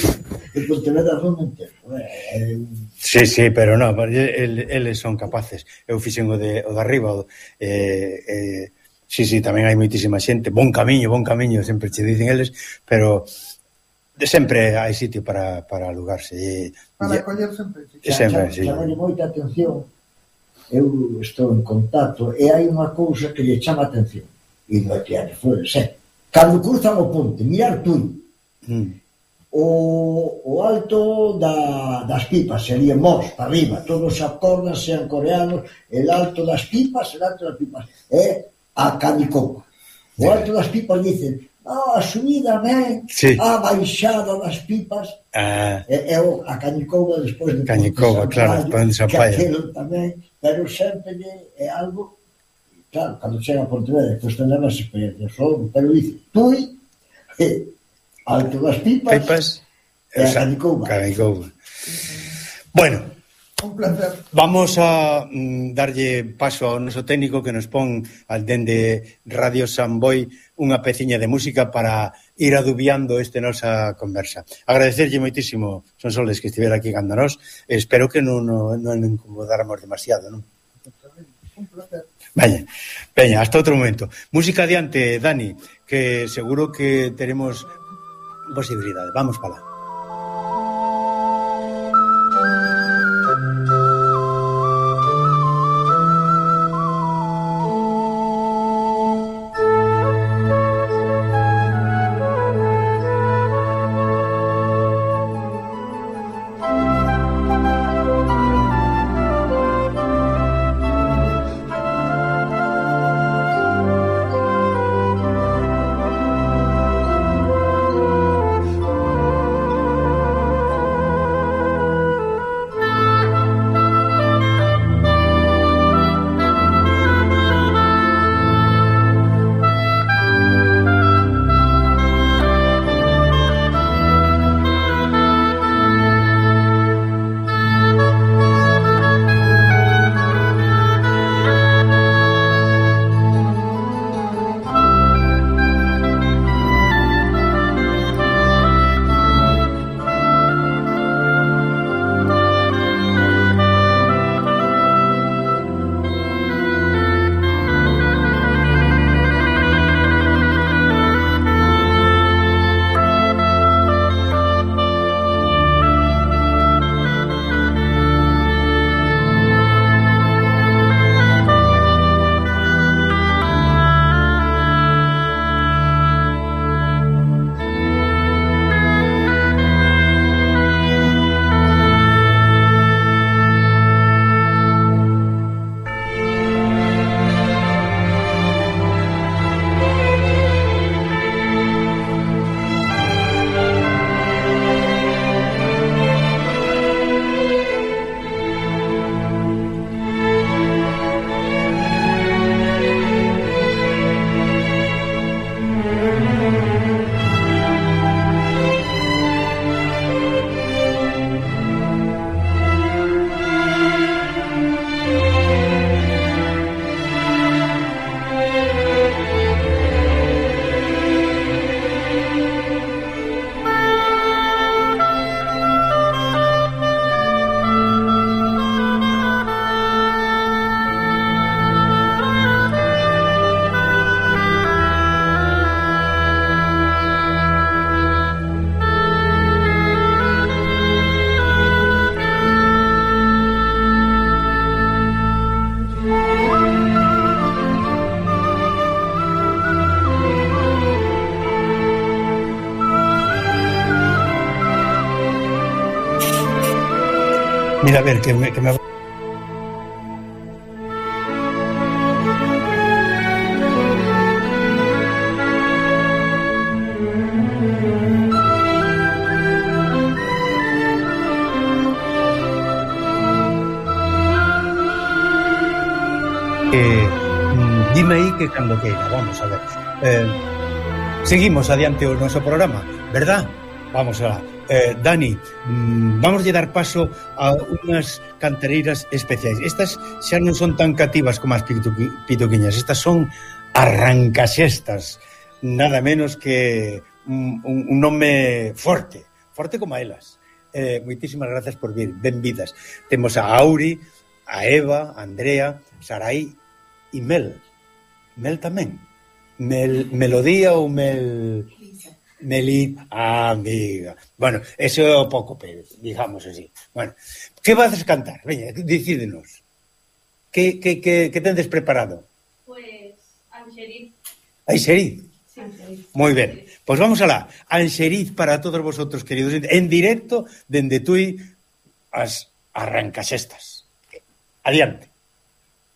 que Pontevedra non entendo. É un... Sí, sí, pero non, eles son capaces. Eu fixen o de, o de arriba, o, eh, eh, sí, sí, tamén hai moitísima xente, bon camiño, bon camiño, sempre che dicen eles, pero sempre hai sitio para, para alugarse. E, para e, coller sempre. Sempre, sí. Chamame moita atención, eu estou en contacto, e hai unha cousa que lle chama atención, e non é que hai flores, é, cando cruzan o ponte, mirar tú, mm. o, o alto da, das pipas, sería Mos, para arriba, todos acordan, sean coreanos, el alto das pipas, el alto das pipas, é a Canicoba. O alto das pipas dicen, ah, a subida, men, sí. A baixada das pipas, ah. é, é a Canicoba despois de Canicoba, claro, Ponte Sampaio, que aquilo tamén, pero sempre é algo, claro, cando chega a Pontevedra, que usted leva esa experiencia só, pero dice, Tui, eh, alto das pipas, pipas e a Canicoba. Canicoba. Bueno, un placer. Vamos a mm, darlle paso ao noso técnico que nos pon al dende Radio Samboy unha peciña de música para ir adubiando este nosa conversa. Agradecerlle moitísimo, Sonsoles, que estivera aquí cando nós. Espero que non, non, non incomodáramos demasiado, non? Un placer. Veña, veña, hasta outro momento. Música adiante, Dani, que seguro que teremos posibilidade. Vamos para lá. Thank Mira, a ver, que me... Que me... Eh, dime aí que cando queira, vamos a ver. Eh, seguimos adiante o noso programa, verdad? Vamos a eh, Dani, mm, vamos a dar paso a unhas cantareiras especiais. Estas xa non son tan cativas como as pituqui, pituquiñas, estas son arrancaxestas, nada menos que un, un, un nome forte, forte como elas. Eh, moitísimas gracias por vir, benvidas. Temos a Auri, a Eva, a Andrea, Sarai e Mel. Mel tamén. Mel, melodía ou Mel... Meli, ah, amiga. Bueno, eso é o pouco Pérez, digamos así. Bueno, que vas a cantar? Veña, decídenos. Que, que, que, que tendes preparado? Pues, Anxeriz. Anxeriz? Sí, Anxeriz. Moi ben. Pois pues vamos alá. Anxeriz para todos vosotros, queridos, en directo, dende Tui, as arrancaxestas. Adiante.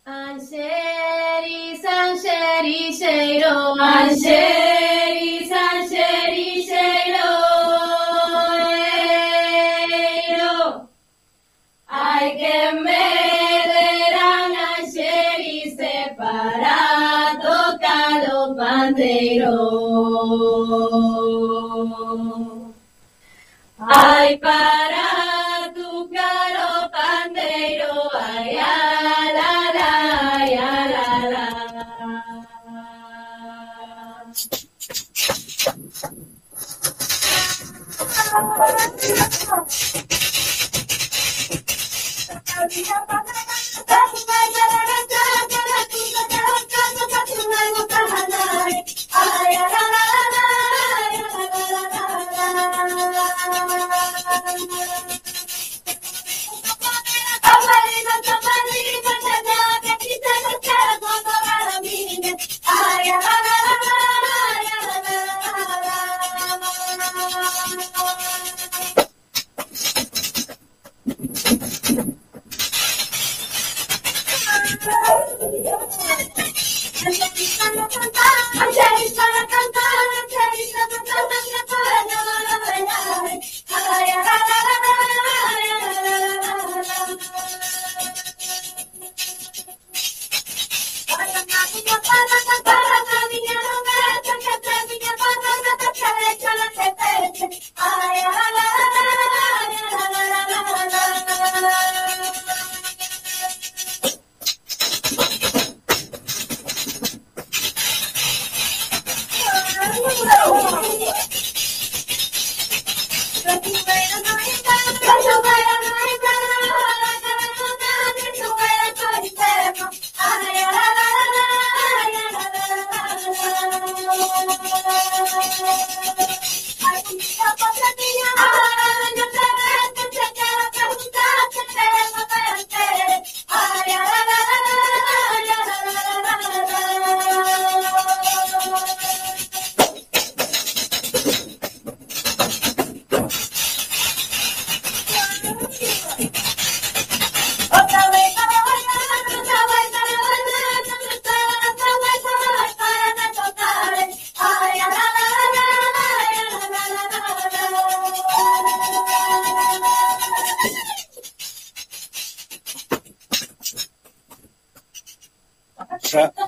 Anxeriz, anxerixeiro, anxeriz, anxerixeiro, ai que me deran anxerice para tocar o pandeiro, ai para tocar o pandeiro, ai, ai.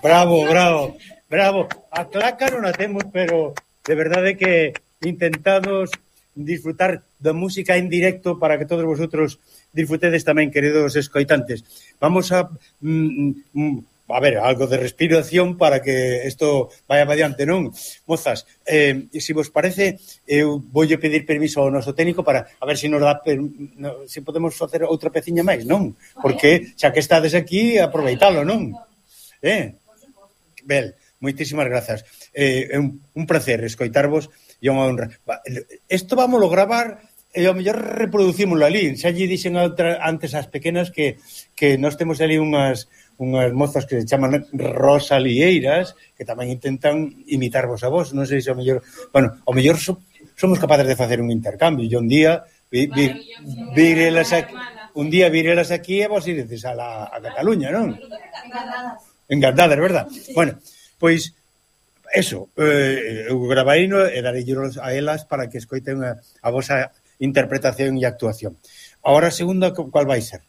Bravo, bravo, bravo. A claca non a temos, pero de verdade que intentamos disfrutar da música en directo para que todos vosotros disfrutedes tamén, queridos escoitantes. Vamos a mm, mm, a ver, algo de respiración para que isto vaya para diante, non? Mozas, eh, se vos parece, eu voulle pedir permiso ao noso técnico para a ver se nos dá per, no, se podemos facer outra peciña máis, non? Porque xa que estades aquí, aproveitalo, non? Eh? Bel, moitísimas grazas. Eh, é un, un placer escoitarvos e unha honra. Isto vamos a gravar e ao mellor reproducímoslo ali. Xa lle dixen a outra, antes as pequenas que, que nós temos ali unhas, unhas mozas que se chaman Rosalieiras que tamén intentan imitarvos a vos. Non sei se ao mellor... Bueno, ao mellor so, somos capaces de facer un intercambio e un día vi, vi, virelas aquí, un día virelas aquí e vos iredes a, la, a Cataluña, non? Encantadas, verdad? Bueno, pois, eso, eh, eu gravaino e darellos a elas para que escoiten a, a vosa interpretación e actuación. Ahora a segunda, cual vai ser?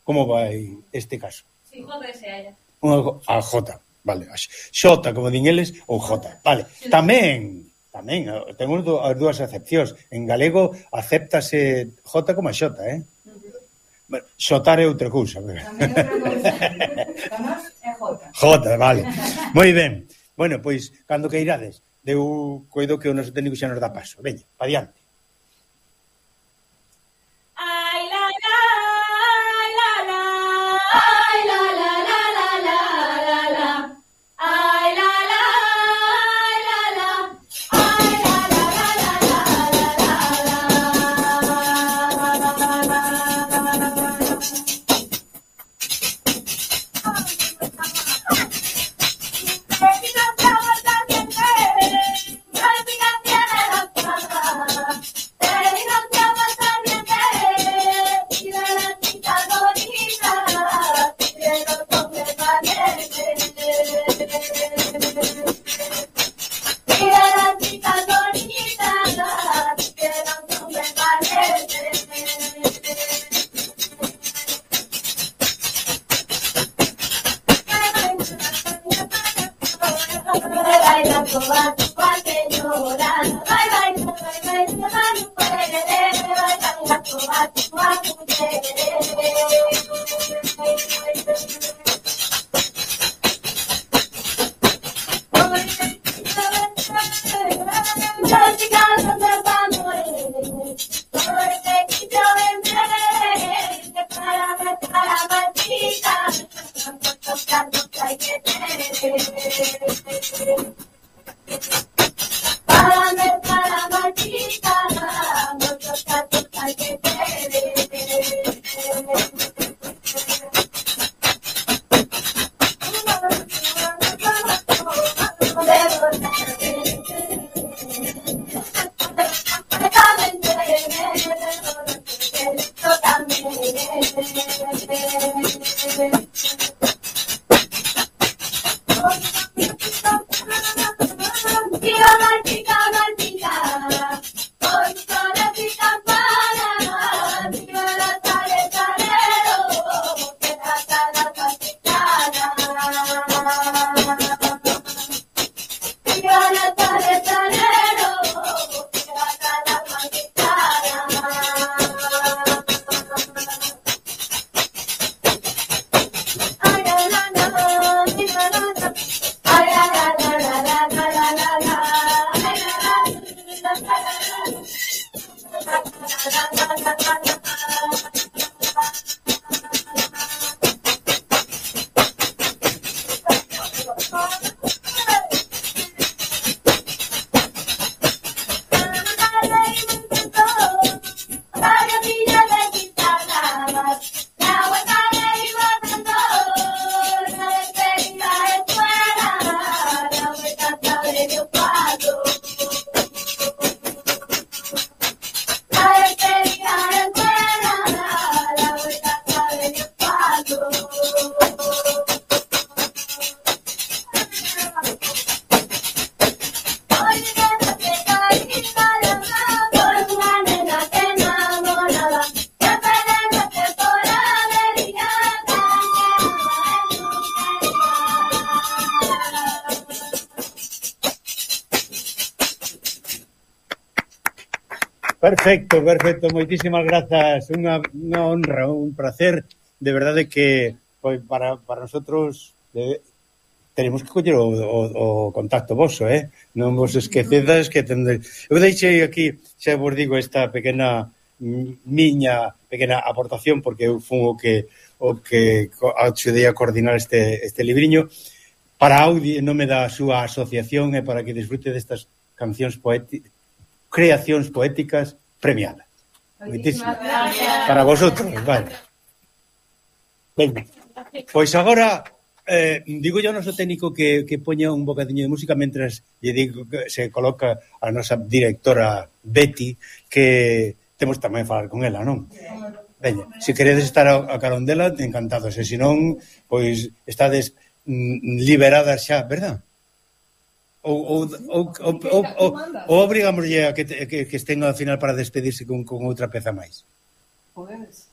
Como vai este caso? Sí, J S A. Unha, a J, vale. A Xota, como din eles, ou J. Vale. Tamén, tamén, temos as dúas acepcións. En galego acéptase J como a Xota, eh? Bueno, xotar é outra cousa. Tamén outra cousa. Tamás é J. J, vale. Moi ben. Bueno, pois, cando que irades, eu coido que o noso técnico xa nos dá paso. Veña, pa diante. Ai, la, la, ai, la, la, ai, la, la, la, la, la, la, la. Ai, la, la, ai, la, la, ai, la, la, la, la, la, la, Perfecto, perfecto, moitísimas grazas, unha, unha honra, un placer, de verdade que pois, para, para nosotros de, tenemos que coller o, o, o contacto voso, eh? Non vos esquecedas que tende... Eu deixei aquí, xa vos digo, esta pequena miña pequena aportación, porque eu fun o que o que axudei a coordinar este, este libriño para Audi, en nome da súa asociación e para que disfrute destas cancións poéticas, creacións poéticas premiadas. Moitísimas para vosotros, vale. Venga. Pois agora eh, digo yo ao noso técnico que, que poña un bocadiño de música mentras lle digo que se coloca a nosa directora Betty, que temos tamén falar con ela, non? Veña, se queredes estar a, a carón dela, encantados, e se non, pois estades mm, liberadas xa, verdad? Ou, ou, ou, ou, ou, ou, ou obrigámoslle a que, te, que, que estén ao final para despedirse con, con outra peza máis. Podedes?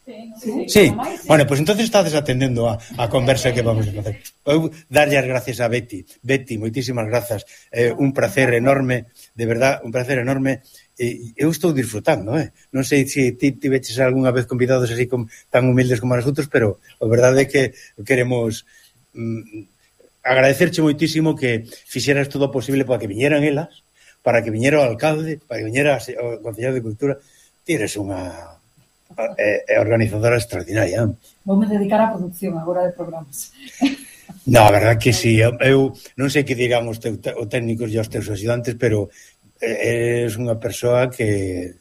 Sí, sí. Bueno, pois pues entonces estades atendendo a, a conversa que vamos a facer. Eu darlle as gracias a Betty. Betty, moitísimas grazas. Eh, un placer enorme, de verdad, un placer enorme. E eu estou disfrutando, eh? Non sei se ti tiveches algunha vez convidados así como, tan humildes como nosotros, pero a verdade é que queremos mm, agradecerche moitísimo que fixeras todo o posible para que viñeran elas, para que viñera o alcalde, para que viñera o Concello de Cultura. Ti eres unha É, é organizadora extraordinaria. Voume dedicar á produción agora de programas. No, a verdade que sí. Eu non sei que dirán os, te, os técnicos e os teus axudantes, pero eres unha persoa que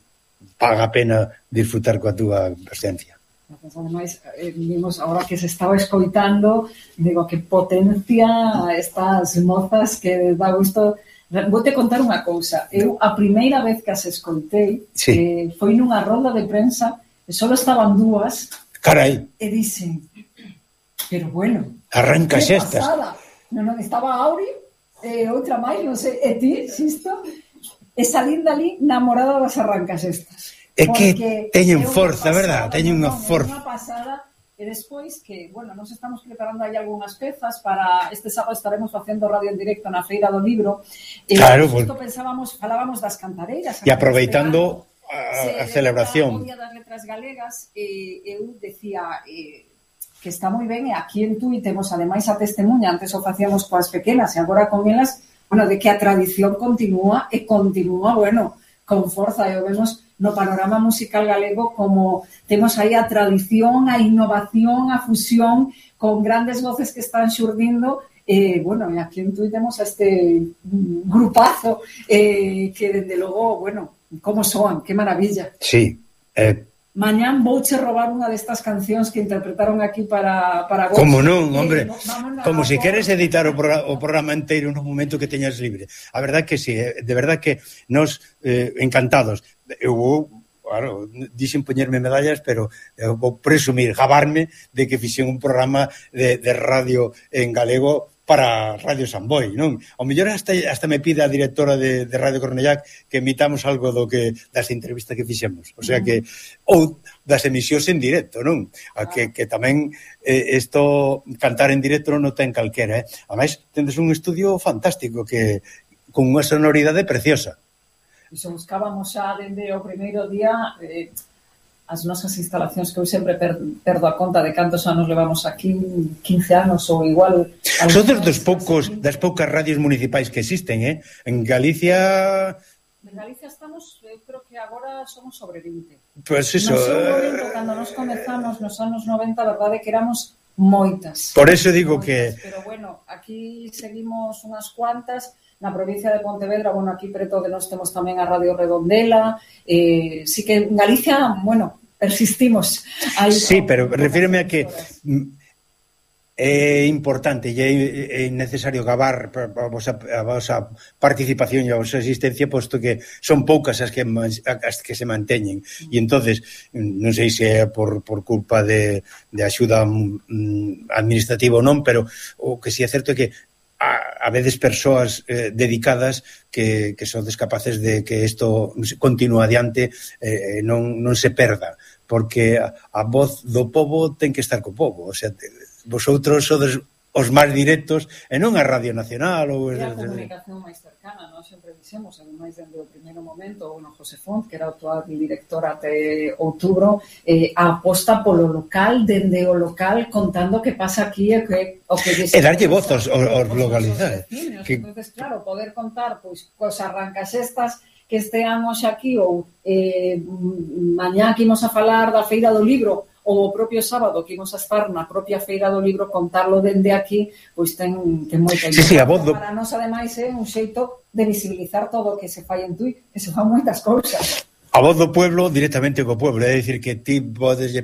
paga a pena disfrutar coa túa presencia. Ademais, eh, vimos agora que se estaba escoitando, digo, que potencia estas mozas que dá gusto. Vou te contar unha cousa. Eu, a primeira vez que as escoitei, sí. eh, foi nunha ronda de prensa. E só estaban dúas. Carai. E dicen, pero bueno, arranca xestas. Non, non, estaba Auri, e outra máis, non sei, e ti, xisto, e salín dali namorada das arrancas estas. É que teñen forza, verdad? Teñen unha forza. Unha pasada, e despois que, bueno, nos estamos preparando aí algunhas pezas para este sábado estaremos facendo radio en directo na Feira do Libro. E claro, justo pues, pensábamos, falábamos das cantareiras. E aproveitando a, a celebración. O Día das Letras Galegas, eh, eu decía eh, que está moi ben, e aquí en Tui temos ademais a testemunha, antes o facíamos coas pequenas e agora con elas, bueno, de que a tradición continúa e continúa, bueno, con forza, e o vemos no panorama musical galego como temos aí a tradición, a innovación, a fusión con grandes voces que están xurdindo. Eh, bueno, e aquí en Tui temos a este grupazo eh, que, desde logo, bueno, como soan, que maravilla. Sí. Eh... Mañán vouche robar unha destas cancións que interpretaron aquí para, para vos. Como non, hombre, eh, como se si queres editar o, programa, o programa inteiro no momento que teñas libre. A verdade que sí, eh, de verdade que nos eh, encantados. Eu vou, claro, dixen poñerme medallas, pero eu vou presumir, gabarme de que fixen un programa de, de radio en galego para Radio Samboy, non? Ao mellor hasta, hasta me pide a directora de, de Radio Cornellac que emitamos algo do que das entrevistas que fixemos. O sea que, ou das emisións en directo, non? A que, que tamén eh, isto, cantar en directo non ten calquera, eh? Ademais, tendes un estudio fantástico que con unha sonoridade preciosa. Iso buscábamos xa dende o primeiro día eh, as nosas instalacións, que eu sempre per, perdo a conta de cantos anos levamos aquí, quince anos ou igual. Sodes dos poucos, das poucas radios municipais que existen, eh? En Galicia... En Galicia estamos, eu creo que agora somos sobre vinte. Pois pues iso... No seu momento, cando nos comezamos nos anos noventa, a verdade que éramos moitas. Por eso digo moitas, que... Pero bueno, aquí seguimos unhas cuantas. Na provincia de Pontevedra, bueno, aquí preto de nós temos tamén a Radio Redondela, eh, sí que en Galicia, bueno, persistimos. Aí, sí, pero refíreme a que é importante e é necesario gabar a vosa, a vosa participación e a vosa existencia, posto que son poucas as que, as que se manteñen. E entonces, non sei se é por, por culpa de, de axuda mm, administrativa ou non, pero o que si é certo é que a, a veces persoas eh, dedicadas que, que son descapaces de que isto continúe adiante, eh, non, non se perda, porque a, a voz do pobo ten que estar co pobo, o sea, te, vosotros sodes os máis directos e non a Radio Nacional ou... E a comunicación máis cercana, non? Sempre dixemos, ademais, dende o primeiro momento, o no José Font, que era o actual director até outubro, eh, a aposta polo local, dende o local, contando que pasa aquí e que... O que e darlle voz aos, aos localidades. Que... Entonces, claro, poder contar, pois, cos arrancas estas que esteamos aquí, ou eh, mañá que imos a falar da Feira do Libro, ou o propio sábado que imos a estar na propia Feira do Libro, contarlo dende aquí, pois ten, ten moita sí, sí, a voz do... Para nós, ademais, é un xeito de visibilizar todo o que se fai en Tui, que se fan moitas cousas. A voz do pueblo directamente co pueblo, é dicir que ti podes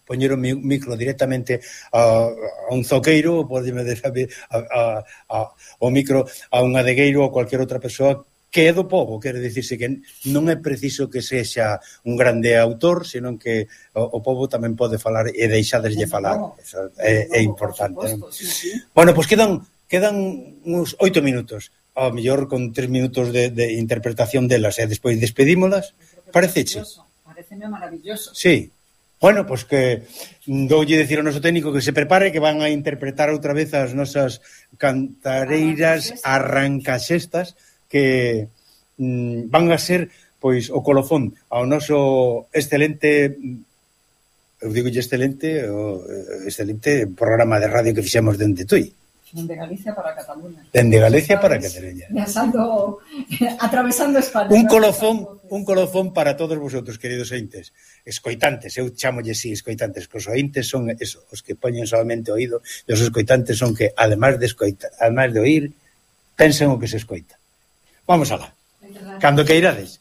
poñer o micro directamente a, a un zoqueiro, podes a, a, a, o micro a un adegueiro ou cualquier outra persoa que é do povo, quere dicirse que non é preciso que sexa un grande autor, senón que o, o povo tamén pode falar e deixadeslle falar. Eso é, é importante. ¿No? Bueno, pois pues quedan quedan uns oito minutos, ao mellor con tres minutos de, de interpretación delas e despois despedímolas. Pareceche? Pareceme maravilloso. Sí. Bueno, pois pues que doulle dicir ao noso técnico que se prepare, que van a interpretar outra vez as nosas cantareiras arrancaxestas, que mm, van a ser pois o colofón ao noso excelente, eu digo excelente, o excelente programa de radio que fixemos dende Tui. Dende Galicia para Cataluña. Dende Galicia para Cataluña. Viajando, atravesando España. Un colofón, un colofón para todos vosotros, queridos ointes. Escoitantes, eu chamolle si escoitantes, que os ointes son eso, os que poñen solamente oído, e os escoitantes son que, ademais de escoitar, ademais de oír, pensan o que se escoita. Vamos alá. Cando que irades.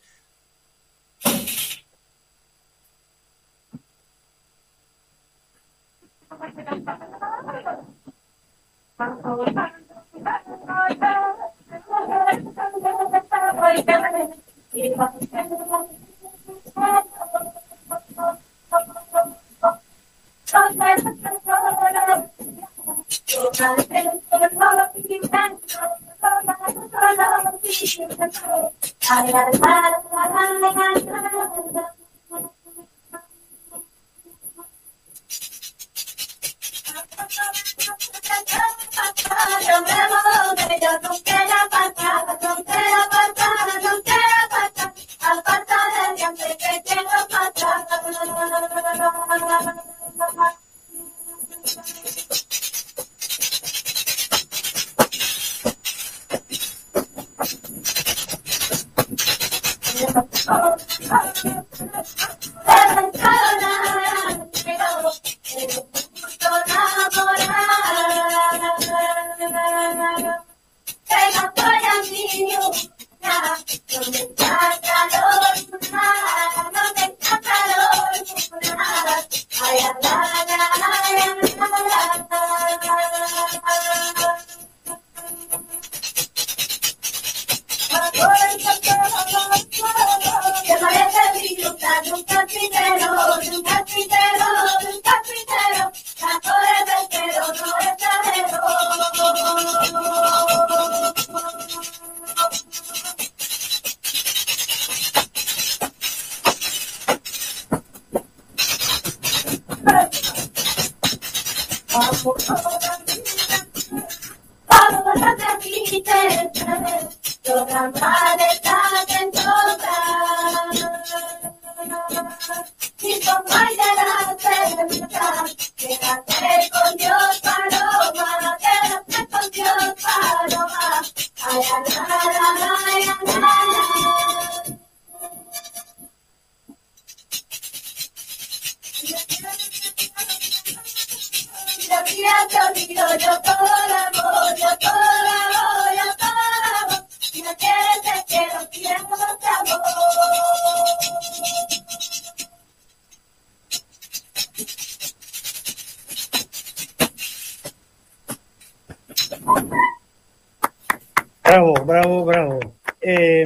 Bravo, bravo, bravo. Eh,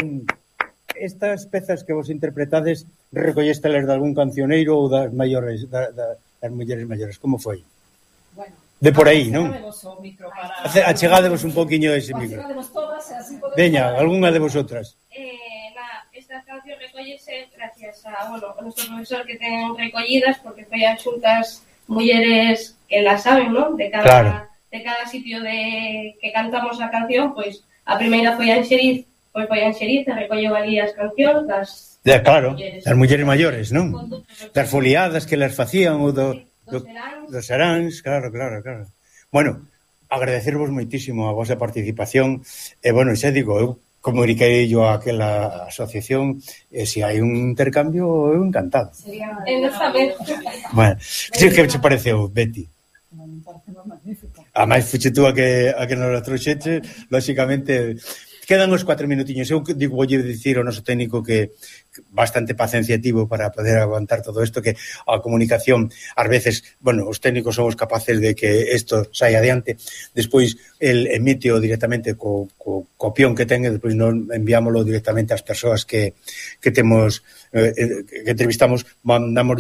estas pezas que vos interpretades recollestelas de algún cancioneiro ou das maiores, da, da, das mulleres maiores, como foi? Bueno, de por aí, non? Para... Achegadevos un poquinho ese micro. Veña, algunha de vosotras. Eh, na, esta canción recollese gracias a, bueno, a nuestro profesor que ten recollidas, porque foi as xuntas mulleres que la saben, non? De cada, claro. de cada sitio de que cantamos a canción, pois a primeira foi a Enxeriz, pois foi a Enxeriz, e recolleu ali as cancións das ya, claro, mulleres. Das mulleres maiores, non? Das foliadas que las facían, ou do, do, dos seráns, claro, claro, claro. Bueno, agradecervos moitísimo a vosa participación, e, bueno, xa digo, eu comuniquei yo a aquela asociación, e se hai un intercambio, eu encantado. Sería... Bueno, que che pareceu, Betty? Me parece magnífica. A máis fuche tú a que, a que nos trouxeche, lóxicamente, Quedan os cuatro minutiños. Eu digo, voulle dicir ao noso técnico que bastante paciencia tivo para poder aguantar todo isto, que a comunicación, ás veces, bueno, os técnicos somos capaces de que isto saia adiante, despois el emite directamente co, co copión que ten e despois non enviámoslo directamente ás persoas que, que temos eh, que entrevistamos, mandamos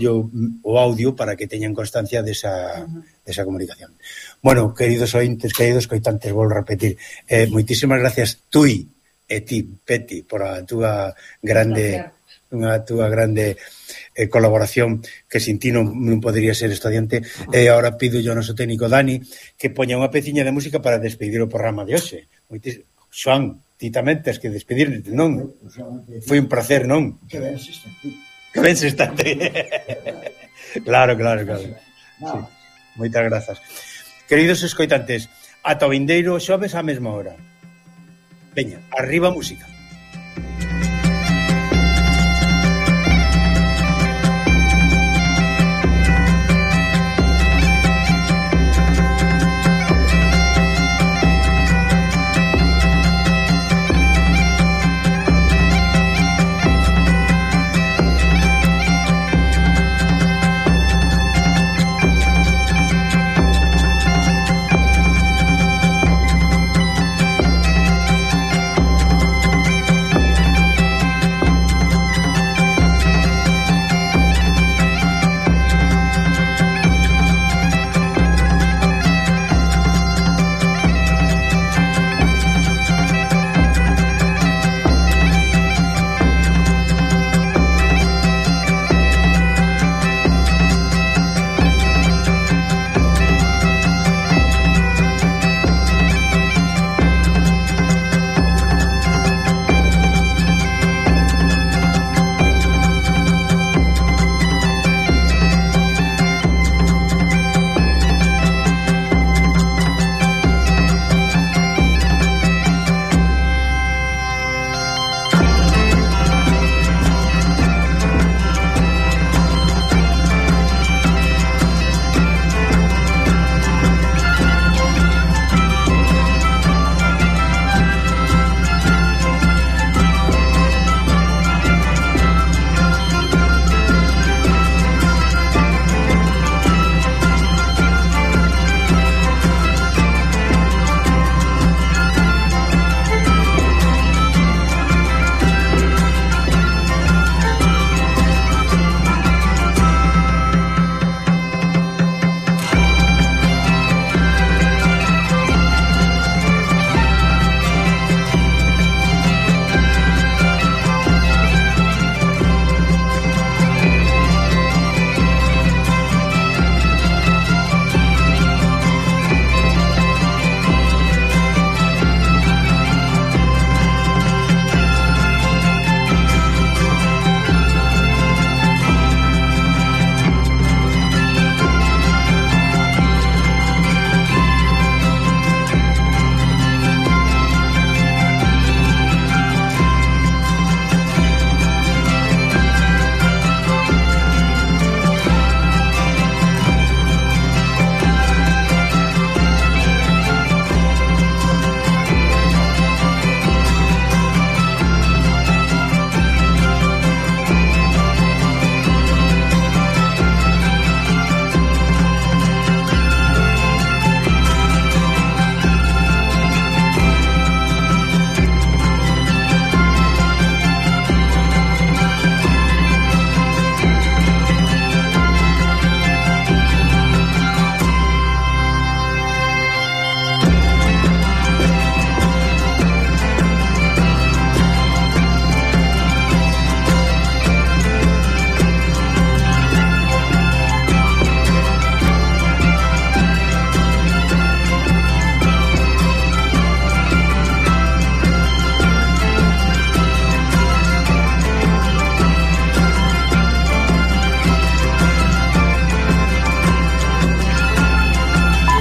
o audio para que teñan constancia desa, desa comunicación. Bueno, queridos ointes, queridos coitantes, volvo a repetir, eh, moitísimas gracias Tui e ti, Peti, por a túa grande unha túa grande eh, colaboración, que sin ti non, non podería ser estudiante. E agora pido yo ao noso técnico Dani que poña unha peciña de música para despedir o programa de hoxe. Moitis... Xoan, ti tamén tens que despedirte, non? Foi un placer, non? Que ben se está. Que ben se está. Claro, claro, claro. Sí. Moitas grazas. Queridos escoitantes, ata o vindeiro xoves á mesma hora. Veña, arriba música.